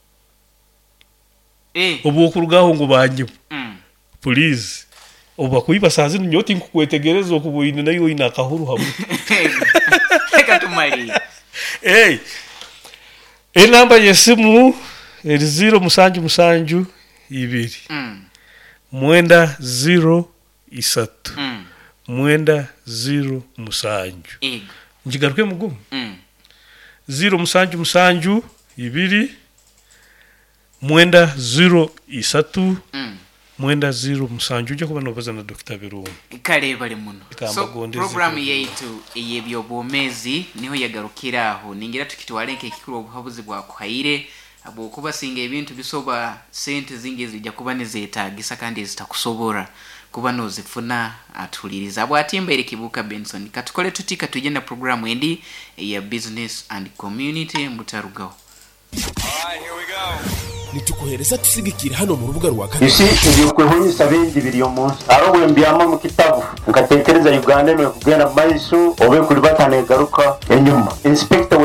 Obwokurugaho ngu banyibu. Please, obakuiba saa zinu nyowe tinkukwetegereza okuba oine nayo oine akahuru hamwe. Reka tumalire. Hey, enamba y'esimu eri 0772 903 907. Ego. Nkigaruke mugumu. 0772 903 907. Ujja kuba nobaza na Dr. Birungi. Kale bali muno. Kamba So gondeze programu kwe. yaitu ey'ebyobwomezi niho yagarukira aho. Ningira tukitwale nk'ekikuru obuhabuzi bwakuhaire, habwokuba singa ebintu bisoba sente zingi ezijja kuba nizeetagisa kandi ezitakusobora. Kuba nozifuna atuhuliriza bwatimbaire Kibuka Benson. Katukole tuti, katujye na programu endi eya business and community. Mutarugaho. Nitukuhereza tusigikire hano mu rubuga rwa You see, ebyokwehonyesa bingi biri omu nsi. Haro bwe mbyama mu kitabu nkatekereza Uganda eno ekugenda mu maiso oba ekulibata negaruka enyuma. Inspector.